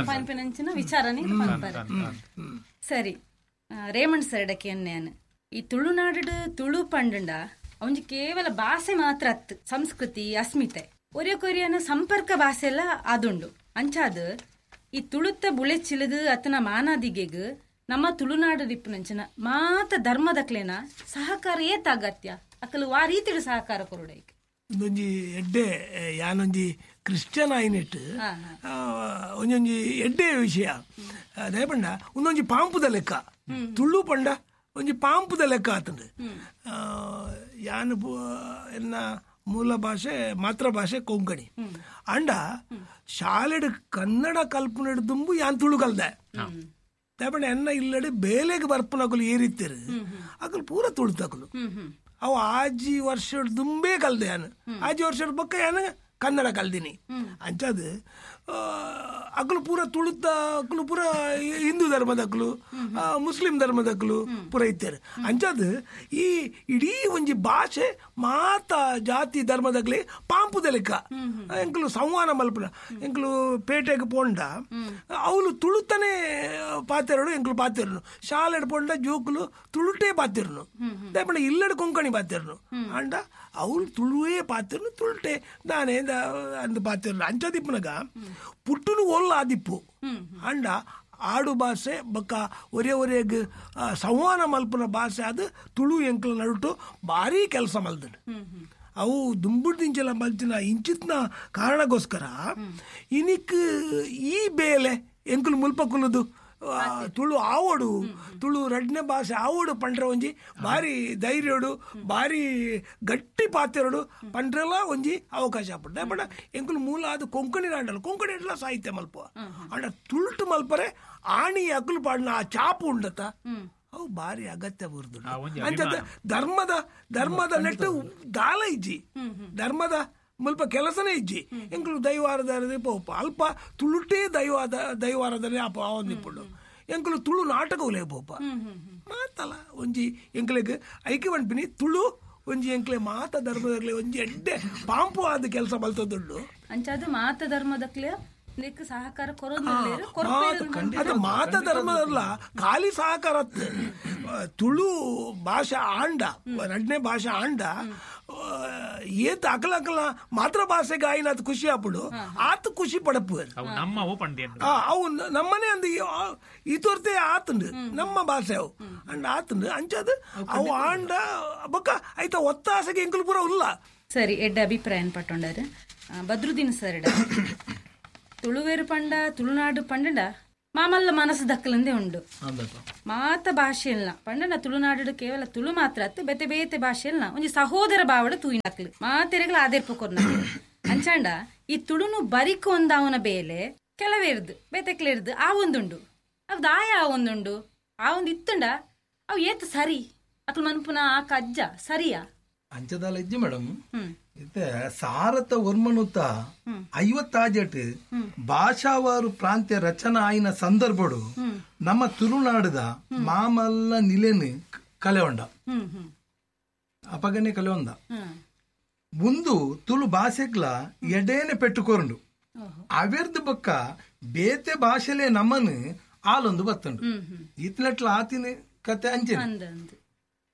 ಪನ್ಪಿನಂಚಿನ ವಿಚಾರನೆ ಪನ್ಪರೆ. ಸರಿ ರೇಮಣ್ಣ ಸರಡಕ್ಕೆ ಅನ್ಯಾನ್ ಈ ತುಳುನಾಡು ತುಳು ಪಂಡಂಡ ಅವಂಜಿ ಕೇವಲ ಭಾಷೆ ಮಾತ್ರ ಅತ್ತು, ಸಂಸ್ಕೃತಿ ಅಸ್ಮಿತೆ ಒರಿಯ ಕೊರಿಯನ ಸಂಪರ್ಕ ಭಾಷೆ ಎಲ್ಲ ಆದುಂಡು. ಅಂಚಾದ ಈ ತುಳುತ್ತ ಬುಳೆಚಿಲುಗು ಅತನ ಮಾನಾದಿಗೆಗ್ ನಮ್ಮ ತುಳುನಾಡು ದಿಪ್ಪುನಂಚಿನ ಮಾತ ಧರ್ಮದಕ್ಲೇನ ಸಹಕಾರ ಏತ ಅಗತ್ಯ ಅಕಲು ಆ ರೀತಿಡು ಸಹಕಾರ ಕೊರುಡೈಕ್. ಒಂದೊಂಜಿ ಎಡ್ಡೆ ಯಾನೊಂಜಿ ಕ್ರಿಶ್ಚಿಯನ್ ಆಯಿನೆಟ್ ಒಂಜೊಂಜಿ ಎಡ್ಡೆ ವಿಷಯ ದಯಪಂಡ ಒಂದೊಂಜಿ ಪಾಂಪುದ ಲೆಕ್ಕ ತುಳು ಪಂಡ ಒಂಜಿ ಪಾಂಪುದ ಲೆಕ್ಕ ಆತಂಡು. ಯಾನು ಎನ್ನ ಮೂಲ ಭಾಷೆ ಮಾತೃಭಾಷೆ ಕೊಂಕಣಿ. ಅಂಡ ಶಾಲೆಡ್ ಕನ್ನಡ ಕಲ್ಪನೆಡ್ ದುಂಬು ಯಾನ್ ತುಳು ಕಲ್ದೆ. ದಯಪಂಡ ಎನ್ನ ಇಲ್ಲಡೆ ಬೇಲೆಗೆ ಬರ್ಪನಕುಲು ಏರಿತ್ತೇರು ಅಕಲು ಪೂರ ತುಳುತಕಲು. ಅವು ಆಜಿ ವರ್ಷ ದುಂಬೇ ಕಲ್ದೆ ಯಾನು. ಆಜಿ ವರ್ಷದ ಬೊಕ್ಕ ಯಾನು ಕನ್ನಡ ಕಲ್ದಿನಿ. ಅಂಚದು ಅಕಲು ಪೂರ ತುಳುತ ಅಕಲು ಪೂರ ಹಿಂದೂ ಧರ್ಮದಕ್ಕಲು ಮುಸ್ಲಿಂ ಧರ್ಮದಕ್ಕಲು ಪೂರ ಇತ್ತೇರು. ಅಂಚದು ಈ ಇಡೀ ಒಂಜಿ ಭಾಷೆ ಮಾತ ಜಾತಿ ಧರ್ಮದಕ್ಲೆ ಪಾಂಪುದ ಲೆಕ್ಕ ಎಂಕಲು ಸಂವಾನ ಮಲ್ಪುನ. ಎಂಕಲು ಪೇಟೆಗೆ ಪೋಂಡ ಅವಳು ತುಳುತನೇ ಪಾತೆರಡು ಎಂಕಲು ಪಾತೆರನು. ಶಾಲೆಡ್ ಪೋಂಡ ಜೋಕುಲು ತುಳುಟೇ ಪಾತೆರನು. ದಯಪಂಡ ಇಲ್ಲಡೆ ಕೊಂಕಣಿ ಪಾತೆರನು. ಅಂಡ ಅವಳು ತುಳುವೇ ಪಾತೆರನು ತುಳುಟೆ ದಾನೆ ಅಂದ್ ಪಾತೆರನು. ಅಂಚದಿಪ್ಪುನಗ ಪುಟ್ಟುನು ಒಲ್ಲ ಆದಿಪ್ಪು. ಅಂಡ ಆಡು ಭಾಷೆ ಬೊಕ್ಕ ಒರೇ ಒರೇಗ್ ಸಂವಾನ ಮಲ್ಪುನ ಭಾಷೆ ಅದು ತುಳು ಎಂಕಲ ನಡುಟು ಭಾರಿ ಕೆಲಸ ಮಲ್ದನು. ಅವು ದುಂಬುಡ್ದಿಂಚೆಲ್ಲ ಮಲ್ತಿನ ಇಂಚಿತ್ನ ಕಾರಣಕ್ಕೋಸ್ಕರ ಇನಿಕ್ ಈ ಬೇಲೆ ಎಂಕುಲು ಮುಲ್ಪ ಕುಲ್ಲುದು ತುಳು ಆವಡು ತುಳು ರಡ್ನೆ ಭಾಷೆ ಆವಡು ಪಂಡ್ರೆ ಒಂಜಿ ಭಾರಿ ಧೈರ್ಯಡು ಭಾರಿ ಗಟ್ಟಿ ಪಾತೆರಡು ಪಂಡ್ರೆಲ್ಲ ಒಂಜಿ ಅವಕಾಶ ಆಪುಂಡು. ಬಟ್ ಎಂಕುಲು ಮೂಲ ಅದು ಕೊಂಕಣಿ ಆಂಡಲ್ಲ ಕೊಂಕಣಿ ಅಂಡಲ ಸಾಹಿತ್ಯ ಮಲ್ಪ ಅಂಡ ತುಳುಟು ಮಲ್ಪರೆ ಆಣಿ ಅಕುಲು ಪಾಡಿನ ಆ ಚಾಪು ಉಂಡತ ಅವು ಭಾರಿ ಅಗತ್ಯ ಬುರ್ದು. ಅಂಚ ಧರ್ಮದ ಧರ್ಮದ ನೆಟ್ಟು ದಾಲ ಇಜ್ಜಿ ಧರ್ಮದ ಮುಲ್ಪ ಕೆಲಸನೇ ಇಜ್ಜಿ. ಎಂಕುಲು ದೈವಾರದ ಪೋಪ ಅಲ್ಪ ತುಳುಟೇ ದೈವಾರದನೆ ಅಪ ಆವೊಂದಿಪ್ಪುಂಡು. ಎಂಕುಲು ತುಳು ನಾಟಕ ಉಲೇ ಪೋಪ ಮಾತಲ್ಲ ಒಂಜಿ ಎಂಕ್ಲೆಗ್ ಐಕೆ ಪನ್ಪಿನಿ ತುಳು ಒಂಜಿ ಎಂಕ್ಲೆ ಮಾತ ಧರ್ಮದಕ್ಲೆ ಒಂಜಿ ಎಡ್ಡೆ ಪಾಂಪು ಆದ ಕೆಲಸ ಮಲ್ತದುಂಡು. ಅಂಚಾದ ಮಾತ ಧರ್ಮದಕ್ಲೆ ಸಹಕಾರ ಅದು ಮಾತ ಧರ್ಮದಲ್ಲ ಖಾಲಿ ಸಹಕಾರ. ತುಳು ಭಾಷೆ ಆಂಡ ರಡ್ನೇ ಭಾಷೆ ಆಂಡ ಏತ್ ಅಕಲ ಅಕಲ ಮಾತೃ ಭಾಷೆಗೆ ಆಯ್ನ ಖುಷಿ ಆಪುಡು ಆತ ಖುಷಿ ಪಡಪು ಅವು ನಮ್ಮನೆ ಅಂದ ಈ ತೋರ್ತೆ ಆತಂಡು ನಮ್ಮ ಭಾಷೆ ಅವು ಅಂಡ ಆತಂಡು ಅಂಚದು ಅವು ಆಂಡ ಬೊಕ್ಕ ಐತ ಒತ್ತಾಸೆಗೆ ಎಂಕುಲು ಪೂರ ಉಲ್ಲ. ಸರಿ, ಎಡ್ಡ ಅಭಿಪ್ರಾಯ ಪಟ್ಟೊಂಡಾರು ಬದ್ರುದ್ದೀನ್ ಸರ್. ತುಳುವೇರು ಪಂಡ ತುಳುನಾಡು ಪಂಡಂಡ ಮಾಮಲ್ಲ ಮನಸ್ಸು ದಕ್ಕಲಂದೇ ಉಂಡು. ಮಾತ ಭಾಷೆಲ್ನ ಪಂಡನ ತುಳುನಾಡು ಕೇವಲ ತುಳು ಮಾತ್ರ ಅತ್ತು ಬೇತೆ ಬೇತೆ ಭಾಷೆಲ್ನ ಒಂಜಿ ಸಹೋದರ ಭಾವಡ ತೂಯಿನಕ್ಲು ಮಾತೆರೆಗಳ ಆದೇರ್ಪು ಕೊರ್ನ. ಅಂಚಾಂಡ ಈ ತುಳುನು ಬರಿಕು ಒಂದಾವನ ಬೇಲೆ ಕೆಲವೇರ್ದು ಬೇತೆಕ್ಲೇರ್ದು ಆ ಒಂದುಂಡು ಅವ್ ದಾಯ ಆ ಒಂದುಂಡು ಆ ಒಂದು ಇತ್ತುಂಡ ಅವು ಏತ್ ಸರಿ ಅಕ್ಲು ಮನ್ಪುನ ಆ ಕಜ್ಜ ಸರಿಯಾ ಅಂಚದಾಲ ಇಜ್ಜಿ ಮೇಡಮ್. ಇತ್ತೆ ಸಾರತ ಒರ್ಮನುತ 50 ಭಾಷಾವಾರು ಪ್ರಾಂತ್ಯ ರಚನಾ ಆಯಿನ ಸಂದರ್ಭಡು ನಮ್ಮ ತುಳುನಾಡದ ಮಾಮಲ್ಲ ನಿಲೆನು ಕಲೆಯೊಂಡ ಅಪಗನೆ ಕಲೆಯೊಂದ ಮುಂದು ತುಳು ಭಾಷೆಗ್ಲ ಎಡೇನೆ ಪೆಟ್ಟುಕೊರಂಡು ಅವೆರ್ದು ಬಕ್ಕ ಬೇತೆ ಭಾಷೆಲೆ ನಮ್ಮನು ಆಲೊಂದು ಬತ್ತಂಡು ಇತ್ಲೆಟ್ಲ ಆತಿನ ಕತೆ ಅಂಚೆ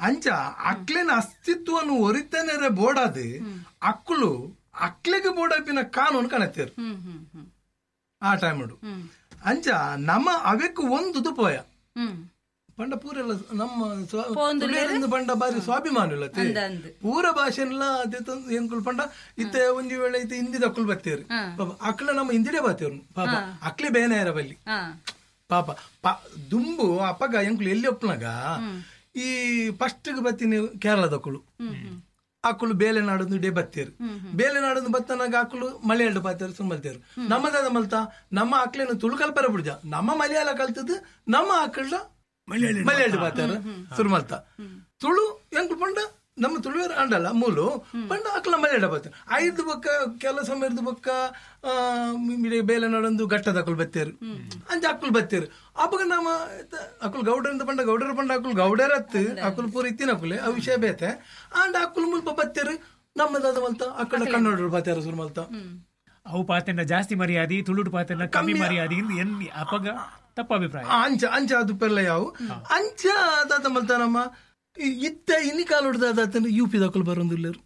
ಅಂಚ ಅಕ್ಲೆನ ಅಸ್ತಿತ್ವನು ಒರಿತನೆರೆ ಬೋಡಾದು ಅಕ್ಕಳು ಅಕ್ಲೆಗೆ ಬೋಡಾಪಿನ ಕಾನೂನು ಕಾಣತ್ತೇರು ಆ ಟೈಮ್ ಅಂಚ ನಮ್ಮ ಅವೆಕ್ಕು ಒಂದು ಪೋಯ ಪಂಡ ಪೂರೆಲ್ಲ ನಮ್ಮ ಪಂಡ ಬಾರಿ ಸ್ವಾಭಿಮಾನ ಇಲ್ಲ ಪೂರ ಭಾಷೆನೆಲ್ಲ ಎಂಕುಲು ಪಂಡ ಇತ್ತೆ ಒಂಜಿ ವೇಳೆ ಇತ್ತೆ ಹಿಂದಿದ ಅಕ್ಕಳು ಬತ್ತೇರು ಪಾಪ ಅಕ್ಲ ನಮ್ಮ ಹಿಂದಿಡೆ ಬತ್ತೇರು ಪಾಪ ಅಕ್ಲೆ ಬೇನೆ ಬಲ್ಲಿ ಪಾಪ ದುಂಬು ಅಪ್ಪಗ ಎಂಕುಲು ಎಲ್ಲಿ ಒಪ್ಪನಾಗ ಈ ಫಸ್ಟ್ ಬತ್ತೀನಿ ಕೇರಳದಕ್ಕಳು ಅಕ್ಕಳು ಬೇಲೆ ನಾಡೊಂದು ಡೇ ಬತ್ತೇರು ಬೇಲೆ ನಾಡೊಂದು ಬತ್ತನಾಗ ಅಕ್ಕಳು ಮಲಯಾಳ ಬಾತೇರು ಸುಮ್ಮಲ್ತೇರು ನಮ್ಮದಾದ ಮಲ್ತ ನಮ್ಮ ಅಕ್ಲೇನು ತುಳು ಕಲ್ಪರ ಬಿಡ್ಜ ನಮ್ಮ ಮಲಯಾಳ ಕಲ್ತದ್ದು ನಮ್ಮ ಅಕ್ಕಳ ಮಲಯಾಳ ಬಾತೇರು ಸುರುಮಲ್ತ ತುಳು ಎಂಕುಲು ಪಂಡ ನಮ್ಮ ತುಳುವೇರು ಅಂಡಲ್ಲ ಮೂಲು ಪಂಡ ಅಕ್ಕಳ ಮಲಯಾಳ ಬಾತೇರು ಐದು ಬೊಕ್ಕ ಕೆಲ ಸಮಯದ ಬೊಕ್ಕ ಬೇಲೆ ನಾಡೊಂದು ಘಟ್ಟದ ಅಕ್ಕಳು ಬತ್ತೇರು ಅಂಚ ಅಕ್ಕಳು ಬತ್ತೇರು ಅಪ್ಪಗ ನಮ್ಮ ಅಕ್ಕಳು ಗೌಡರಿಂದ ಪಂಡ ಗೌಡರ ಪಂಡ ಅಕ್ಕಳು ಗೌಡರತ್ತು ಅಕ್ಕಳು ಪೂರ ಇತ್ತಿನ ಅಕ್ಕುಲೆ ಆ ವಿಷಯ ಬೇತೆ ಅಂಡ್ ಅಕ್ಕಳು ಮುಲ್ಪ ಬತ್ತೇರು ನಮ್ಮದಾದ ಮಲ್ತ ಅಕ್ಕಳ ಕನ್ನಡರು ಬಾತೇರು ಸುರು ಮಲ್ತ ಅವು ಪಾತೆಂಡ ಜಾಸ್ತಿ ಮರ್ಯಾದೆ ತುಳುಟು ಪಾತೆಂಡ ಕಮ್ಮಿ ಮರ್ಯಾದೆ ಎನ್ನಿ ಅಪಗ ತಪ್ಪ ಅಭಿಪ್ರಾಯ ಅಂಚ ಅಂಚ ಅದು ಪೆರ್ಲ ಯಾವು ಅಂಚ ಅದಾದ ಮಲ್ತ ನಮ್ಮ ಇತ್ತ ಇನ್ನಿ ಕಾಲುಡ್ದಾದ ಯು ಪಿ ದಕ್ಕಲು ಬರೋದಿಲ್ಲರು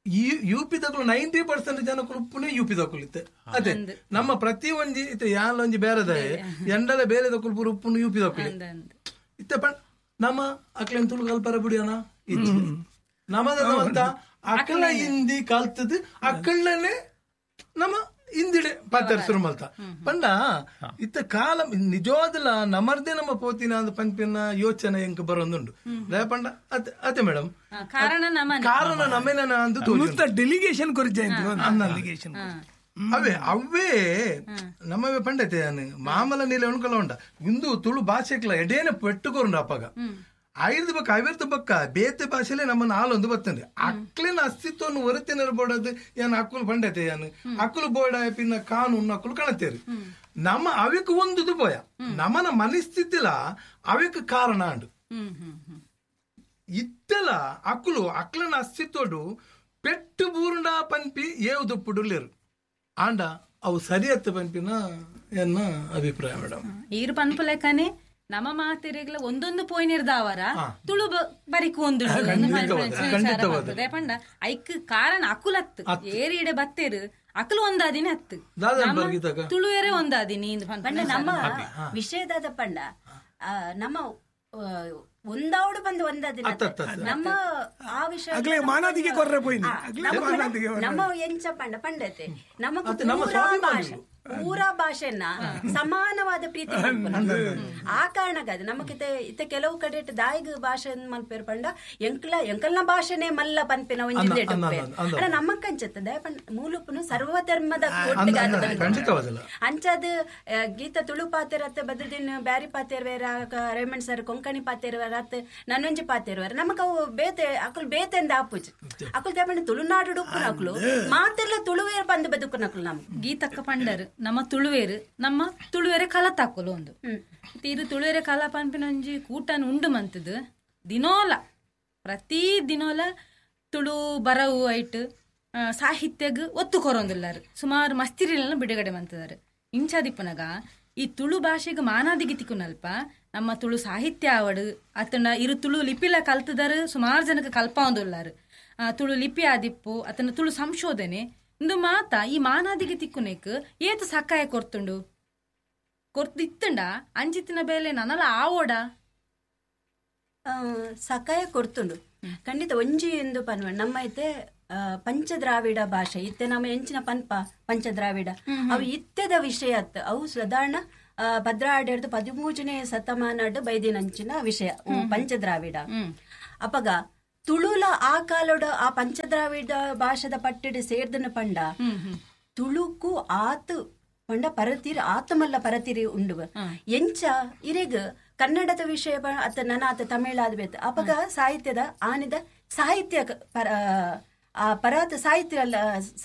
ಈ ಯು ಪಿ ದಕ್ಕಲು 90% ಜನಕ್ಕಳು ಪುಣೆ ಯು ಪಿ ದಕ್ಕಲು ಇತ್ತೆ ಅದೇ ನಮ್ಮ ಪ್ರತಿ ಒಂಜಿ ಇತ್ತೆ ಯಾಲ ಒಂಜಿ ಬೇರೆದ ಎಂಡಲ ಬೇರೆ ದಕ್ಕಲು ಪೂರ ಉಪ್ಪುನು ಯು ಪಿ ದಕ್ಕಲು ಇತ್ತೆ ಪಂಡ ನಮ್ಮ ಅಕ್ಲೇನ್ ತುಳು ಕಲ್ಪರ ಬಿಡಿಯೋಣ ಇಜ್ಜಿ ನಮ್ಮದ ಅಂತ ಅಕಲ ಹಿಂದಿ ಕಲ್ತದ್ ಅಕ್ಕಳನೆ ನಮ್ಮ ಹಿಂದಿಡೆ ಪಾತ್ರ ಶುರು ಮಲ್ತ ಪಂಡ ಇತ್ತ ಕಾಲ ನಿಜವಾದಲ ನಮರ್ದೆ ನಮ್ಮ ಪೋತಿನ ಅಂದ್ ಪಂಪಿನ ಯೋಚನೆ ಎಂಕ್ ಬರೋದುಂಡು ಪಂಡ ಅತೆ ಮೇಡಮ್ ಕಾರಣ ನಮ್ಮೇನ ಅಂದು ಡೆಲಿಗೇಷನ್ ಡೆಲಿಗೇಷನ್ ಅವೇ ಅವೇ ನಮ್ಮವೇ ಪಂಡತೆ ಮಾಮಲ ನೀಲ ಉಣ್ಕಲ ಉಂಡ ಇಂದು ತುಳು ಭಾಷೆಕ್ಲ ಎಡೇನ ಪೆಟ್ಟುಕೊರುಂಡು ಅಪ್ಪಗ ಐದು ಬಕ್ಕ ಐವತ್ತು ಬಕ್ಕ ಬೇತೆ ಭಾಷೆಲೆ ನಮ್ಮನ್ನ ಆಲೊಂದು ಬರ್ತಂದ್ರೆ ಅಕ್ಲಿನ ಅಸ್ತಿತ್ವವನ್ನು ಹೊರತೆ ನೆರಬೋಡದು ಏನ್ ಅಕ್ಕುಲು ಪಂಡತೆ ಏನು ಅಕ್ಕುಲು ಬೋಡ ಪಿನ್ನ ಕಾನೂನು ಅಕ್ಕುಲು ಕಾಣತ್ತೇರಿ ನಮ್ಮ ಅವಿಕ್ ಒಂದು ಪೋಯ ನಮ್ಮನ ಮನಸ್ಥಿತಿಲ ಅವಿಕ್ ಕಾರಣ ಅಂಡು ಇತ್ತೆಲ ಅಕ್ಕುಲು ಅಕ್ಲನ ಅಸ್ತಿತ್ವಡು ಪೆಟ್ಟು ಬೂರುಂಡ ಪನ್ಪಿ ಏವು ದುಪ್ಪುಡುಲೇರು ಆಂಡ ಅವು ಸರಿಯತ್ತ ಪನ್ಪಿನ ಎನ್ನ ಅಭಿಪ್ರಾಯ ಮೇಡಮ್. ಈರು ಪನ್ಪು ಲೆಕ್ಕನೆ ನಮ್ಮ ಮಾತೆರೆಗ್ಲ ಒಂದೊಂದು ಪೋಯಿನಿರ್ದಾವರ ತುಳು ಬರಿಕು ಒಂದು ಪಂಡ ಐಕ್ ಕಾರಣ ಅಕುಲತ್ತು ಏರಿಡೆ ಬತ್ತೇರು ಅಕಲು ಒಂದಾದಿನ ಹತ್ತು ತುಳುವೇರೆ ಒಂದಾದಿನಿ ನಮ್ಮ ವಿಷಯದಾದ ಪಂಡ ನಮ್ಮ ಒಂದಾವಡು ಬಂದು ಒಂದಾದಿನ ನಮ್ಮ ಆ ವಿಷಯ ನಮ್ಮ ಎಂಚ ಪಂಡ ಪಂಡತೆ ನಮ್ಮ ಪೂರಾ ಭಾಷೆನ ಸಮಾನವಾದ ಪ್ರೀತಿ ಆ ಕಾರಣಕ್ಕಾದ ನಮಗಿತೆ ಇತ್ತ ಕೆಲವು ಕಡೆ ದಾಯಿಗ ಭಾಷೆ ಮಲ್ಪೇರು ಪಂಡ ಎಂಕ್ಲ ಎಂಕಲ್ನ ಭಾಷೆನೆ ಮಲ್ಲ ಪನ್ಪಿನ ಒಂಜಿ ನಮ್ಮಕ್ಕಂಚತ್ತ ದಯ ಪಂಡ ಮೂಲುಪುನು ಸರ್ವಧರ್ಮದ ಅಂಚಾದ ಗೀತ ತುಳು ಪಾತೆರತ್ತ ಬದ್ರದಿನ ಬ್ಯಾರಿ ಪಾತೆರ್ವೇರ ರೇಮಂಡ್ ಸರ್ ಕೊಂಕಣಿ ಪಾತೆರ್ವೇರ ಅತ್ ನನ್ನೊಂಜಿ ಪಾತೆರ್ವೇರ ನಮಕ್ ಅವು ಬೇತೆ ಅಕುಲು ಬೇತೆಂದ ಆಪುಜಿ ಅಕುಲು ದಯ ತುಳುನಾಡು ಉಪ್ಪುನಕುಲು ಮಾತೆಲ್ಲ ತುಳುವೇರ್ ಬಂದು ಬದುಕುನಕುಲು ನಮ್ ಗೀತಕ್ಕ ಪಂಡರು ನಮ್ಮ ತುಳುವೇರು ನಮ್ಮ ತುಳುವೇರೆ ಕಲ ತಾಕೊಲು ಒಂದು ತೀರು ತುಳುವೇರೆ ಕಲ ಪನ್ಪಿನೊಂಜಿ ಕೂಟನ್ ಉಂಡು ಮಂತದು ದಿನೋಲ ಪ್ರತಿ ದಿನೋಲ ತುಳು ಬರವು ಐಟ್ ಸಾಹಿತ್ಯಗ್ ಒತ್ತು ಕೊರೊಂದಿಲ್ಲಾರು ಸುಮಾರು ಮಸ್ತಿರಿಲನ್ನ ಬಿಡುಗಡೆ ಮಂತದಾರು ಇಂಚಾದಿಪ್ಪನಗ ಈ ತುಳು ಭಾಷೆಗೆ ಮಾನಾದಿಗೆ ತಿಕ್ಕುನಲ್ಪ ನಮ್ಮ ತುಳು ಸಾಹಿತ್ಯ ಆವಡು ಅತನ ಇರು ತುಳು ಲಿಪಿಲ ಕಲ್ತದಾರು ಸುಮಾರು ಜನಕ್ಕೆ ಕಲ್ಪಾವೊಂದುಲ್ಲಾರು ತುಳು ಲಿಪಿ ಆದಿಪ್ಪು ಅತನ ತುಳು ಸಂಶೋಧನೆ ಇಂದು ಮಾತ ಈ ಮಾನಾದಿಗೆ ತಿಕ್ಕುನೇಕ್ ಏತು ಸಕಾಯ ಕೊರ್ತುಂಡು ಕೊರ್ತಿತ್ತುಂಡ ಅಂಚಿತ್ತಿನ ಬೇಲೆ ನನಲ ಆವೋಡ ಸಕಾಯ ಕೊರ್ತುಂಡು ಖಂಡಿತ ಒಂಜಿ ಎಂದು ಪನ್ವ ನಮ್ಮ ಐತೆ ಪಂಚದ್ರಾವಿಡ ಭಾಷೆ ಇತ್ತೆ ನಮ್ಮ ಎಂಚಿನ ಪನ್ಪ ಪಂಚದ್ರಾವಿಡ ಅವು ಇತ್ತೆದ ವಿಷಯ ಅತ್ತ ಅವು ಸಾಧಾರಣ ಭದ್ರಾಡ್ಯರ್ದು 13ನೇ ಶತಮಾನಡ್ ಬೈದಿನಂಚಿನ ವಿಷಯ ಪಂಚದ್ರಾವಿಡ. ಅಪಗ ತುಳುಲ ಆ ಕಾಲೋಡ ಆ ಪಂಚದ್ರಾವಿಡ ಭಾಷೆದ ಪಟ್ಟಿಡು ಸೇರ್ದನ ಪಂಡ ತುಳುಕು ಆತು ಪಂಡ ಪರತಿರಿ ಆತಮಲ್ಲ ಪರತಿರಿ ಉಂಡು ಎಂಚ ಇರೆಗ್ ಕನ್ನಡದ ವಿಷಯ ಅತ್ತ ನನಾತ ತಮಿಳಾದ ಬೇತ ಅಪಗ ಸಾಹಿತ್ಯದ ಆನಿದ ಸಾಹಿತ್ಯ ಪರ ಆ ಪರಾತ ಸಾಹಿತ್ಯ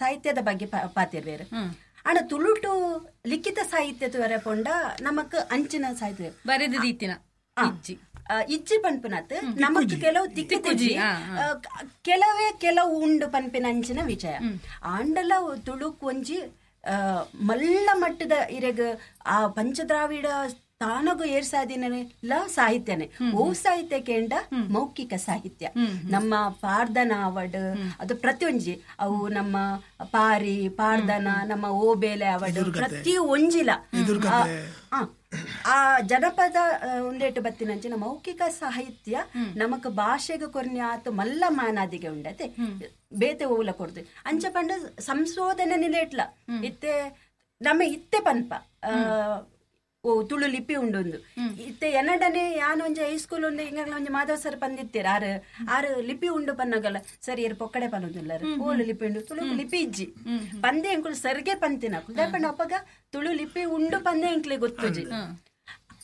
ಸಾಹಿತ್ಯದ ಬಗ್ಗೆ ಪಾತಿರ್ವೇರು. ಆಂಡ ತುಳುಟು ಲಿಖಿತ ಸಾಹಿತ್ಯ ತುವರೆ ಪೊಂಡ ನಮಕ್ ಅಂಚಿನ ಸಾಹಿತ್ಯ ಬರೆದ ರೀತಿನ ಇಜ್ಜಿ ಪನ್ಪಿನತ್ ನಮಕ್ ಕೆಲವು ತಿಕ್ಕುಜಿ ಕೆಲವೇ ಕೆಲವು ಉಂಡು ಪನ್ಪಿನ ಅಂಚಿನ ವಿಷಯ. ಆಂಡಲ ತುಳುಕ್ ಒಂಜಿ ಮಲ್ಲ ಮಟ್ಟದ ಇರೆಗ್ ಆ ಪಂಚದ್ರಾವಿಡ ತಾನಗು ಏರ್ಸಾದಿನ ಸಾಹಿತ್ಯನೇ ಓ ಸಾಹಿತ್ಯ ಕೇಂದ್ರ ಮೌಖಿಕ ಸಾಹಿತ್ಯ ನಮ್ಮ ಪಾರ್ದನ ಅವಡ್ ಅದು ಪ್ರತಿಯೊಂಜಿ ಅವು ನಮ್ಮ ಪಾರಿ ಪಾರ್ದನ ನಮ್ಮ ಓಬೇಲೆ ಅವಡ್ ಪ್ರತಿ ಒಂಜಿಲ ಆ ಜನಪದ ಉಂಡೇಟು ಬತ್ತಿನಂಚಿನ ಮೌಖಿಕ ಸಾಹಿತ್ಯ ನಮಕ್ ಭಾಷೆಗೆ ಕೊರ್ನ್ಯಾತು ಮಲ್ಲ ಮಾನಾದಿಗೆ ಉಂಡತೆ ಬೇತೆ ಓಲ ಕೊಡ್ತು ಅಂಚ ಪಂಡ ಸಂಶೋಧನೆ ನಿಲೇಟ್ಲ ಇತ್ತೆ ನಮ್ಮ ಇತ್ತೆ ಪನ್ಪ ಓ ತುಳು ಲಿಪಿ ಉಂಡೊಂದು ಇತ್ತೆ ಎನ್ನಡನೆ ಯಾನ್ ಒಂಜಿ ಹೈಸ್ಕೂಲ್ ಉಂಡು ಹಿಂಗಾಗ್ಲ ಒಂಜಿ ಮಾಧವ ಸರ್ ಪಂದಿತ್ತೀರ ಆರು ಆರು ಲಿಪಿ ಉಂಡು ಪನ್ನಗಲ್ಲ ಸರ್ ಏರ್ ಪೊಕ್ಕಡೆ ಪನ್ನೊಂದಿಲ್ಲಾರು ಓಲು ಲಿಪಿ ಉಂಡು ತುಳು ಲಿಪಿ ಇಜ್ಜಿ ಪಂದೆ ಎಂಕುಲು ಸರ್ಗೆ ಪಂತಿನ ಪಂಡ ಅಪ್ಪಗ ತುಳು ಲಿಪಿ ಉಂಡು ಪಂದೆ ಎಂಕ್ಲೆ ಗೊತ್ತುಜಿ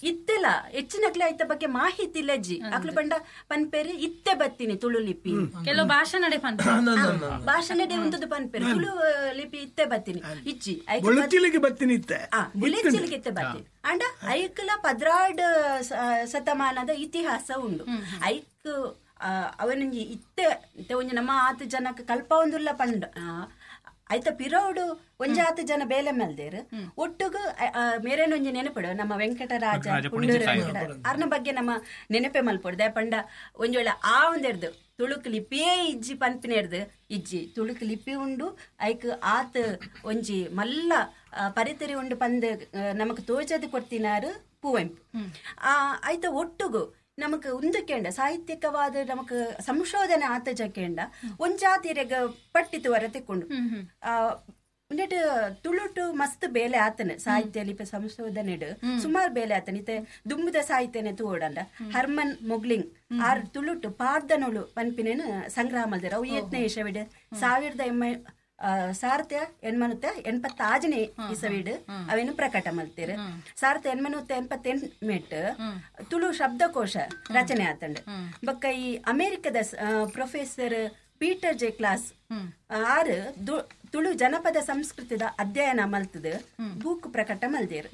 ಇತ್ತೆಲ್ಲ ಹೆಚ್ಚಿನಕ್ಲೆ ಐತ ಬಗ್ಗೆ ಮಾಹಿತಿ ಇಲ್ಲಜ್ಜಿ ಅಕ್ಲು ಪಂಡ ಪನ್ಪೇರಿ ಇತ್ತೆ ಬತ್ತೀನಿ ತುಳು ಲಿಪಿ ಕೆಲವು ಭಾಷೆ ನಡೆ ಭಾಷೆ ನಡೆ ಉಂಟು ಪನ್ಪೇರಿ ತುಳು ಲಿಪಿ ಇತ್ತೆ ಬತ್ತೀನಿ ಇಜ್ಜಿ ಬತ್ತೀನಿ ಇತ್ತೆ ಬುಲೆಚಿಲಿಗೆ ಇತ್ತೆ ಬತ್ತೀನಿ ಅಂಡ ಐಕ್ಲ 12 ಶತಮಾನದ ಇತಿಹಾಸ ಉಂಡು ಐಕ್ ಅವನೊಂಜಿ ಇತ್ತೆ ಒಂಜಿ ನಮ್ಮ ಆತು ಜನಕ್ಕೆ ಕಲ್ಪ ಒಂದುಲ್ಲ ಪಂಡ ಐತ ಪಿರೋಡು ಒಂಜಾತು ಜನ ಬೇಲೆ ಮಲ್ದೇರು ಒಟ್ಟುಗು ಮೇರೇನೊಂಜಿ ನೆನಪಡು ನಮ್ಮ ವೆಂಕಟರಾಜ ಅರ್ನ ಬಗ್ಗೆ ನಮ್ಮ ನೆನಪೆ ಮಲ್ಪೊಡು ದಯಪಂಡ ಒಂಜೊಳ್ಳೆ ಆ ಒಂದೆರ್ದು ತುಳುಕ್ ಲಿಪಿಯೇ ಇಜ್ಜಿ ಪನ್ಪಿನೆರ್ದು ಇಜ್ಜಿ ತುಳುಕ್ ಲಿಪಿ ಉಂಡು ಐಕ್ ಆತ್ ಒಂಜಿ ಮಲ್ಲ ಪರಿತರಿ ಉಂಡು ಪಂದ್ ನಮಕ್ ತೋಜದು ಕೊಡ್ತಿನಾರು ಪುವೆಂಪು ಆ ಐತ ಒಟ್ಟುಗು ನಮಕ್ ಉಂದಕೇಂಡ ಸಾಹಿತ್ಯಿಕವಾದ ನಮಕ್ ಸಂಶೋಧನೆ ಆತಜಕೇಂಡ ಒಂಜಾತಿರೆಗ ಪಟ್ಟಿತು ವರ ತೆಕ್ಕೊಂಡು ಉಂದೆಟ್ ತುಳುಟು ಮಸ್ತ್ ಬೇಲೆ ಆತನ ಸಾಹಿತ್ಯ ಲಿಪಿ ಸಂಶೋಧನೆಡ್ ಸುಮಾರು ಬೇಲೆ ಆತನ. ಇತ್ತೆ ದುಂಬುದ ಸಾಹಿತ್ಯನೆ ತೂಡಂಡ ಹರ್ಮನ್ ಮೊಗ್ಲಿಂಗ್ ಆರ್ ತುಳುಟು ಪಾರ್ದನೋಳು ಪನ್ಪಿನೇನು ಸಂಗ್ರಹ ಮಲ್ದೆರ್. ಅವು ಏತ್ನೇ ಇಸವಿಡ್ 1886ನೇ ಇಸವಿಡ್ ಅವೇನು ಪ್ರಕಟ ಮಲ್ತೇರು. 1888 ತುಳು ಶಬ್ದಕೋಶ ರಚನೆ ಆತಂಡ್. ಬೊಕ್ಕ ಈ ಅಮೆರಿಕದ ಪ್ರೊಫೆಸರ್ ಪೀಟರ್ ಜೆ ಕ್ಲಾಸ್ ಆರ್ ತುಳು ಜನಪದ ಸಂಸ್ಕೃತಿದ ಅಧ್ಯಯನ ಮಲ್ತದ ಬೂಕ್ ಪ್ರಕಟ ಮಲ್ದೇರು.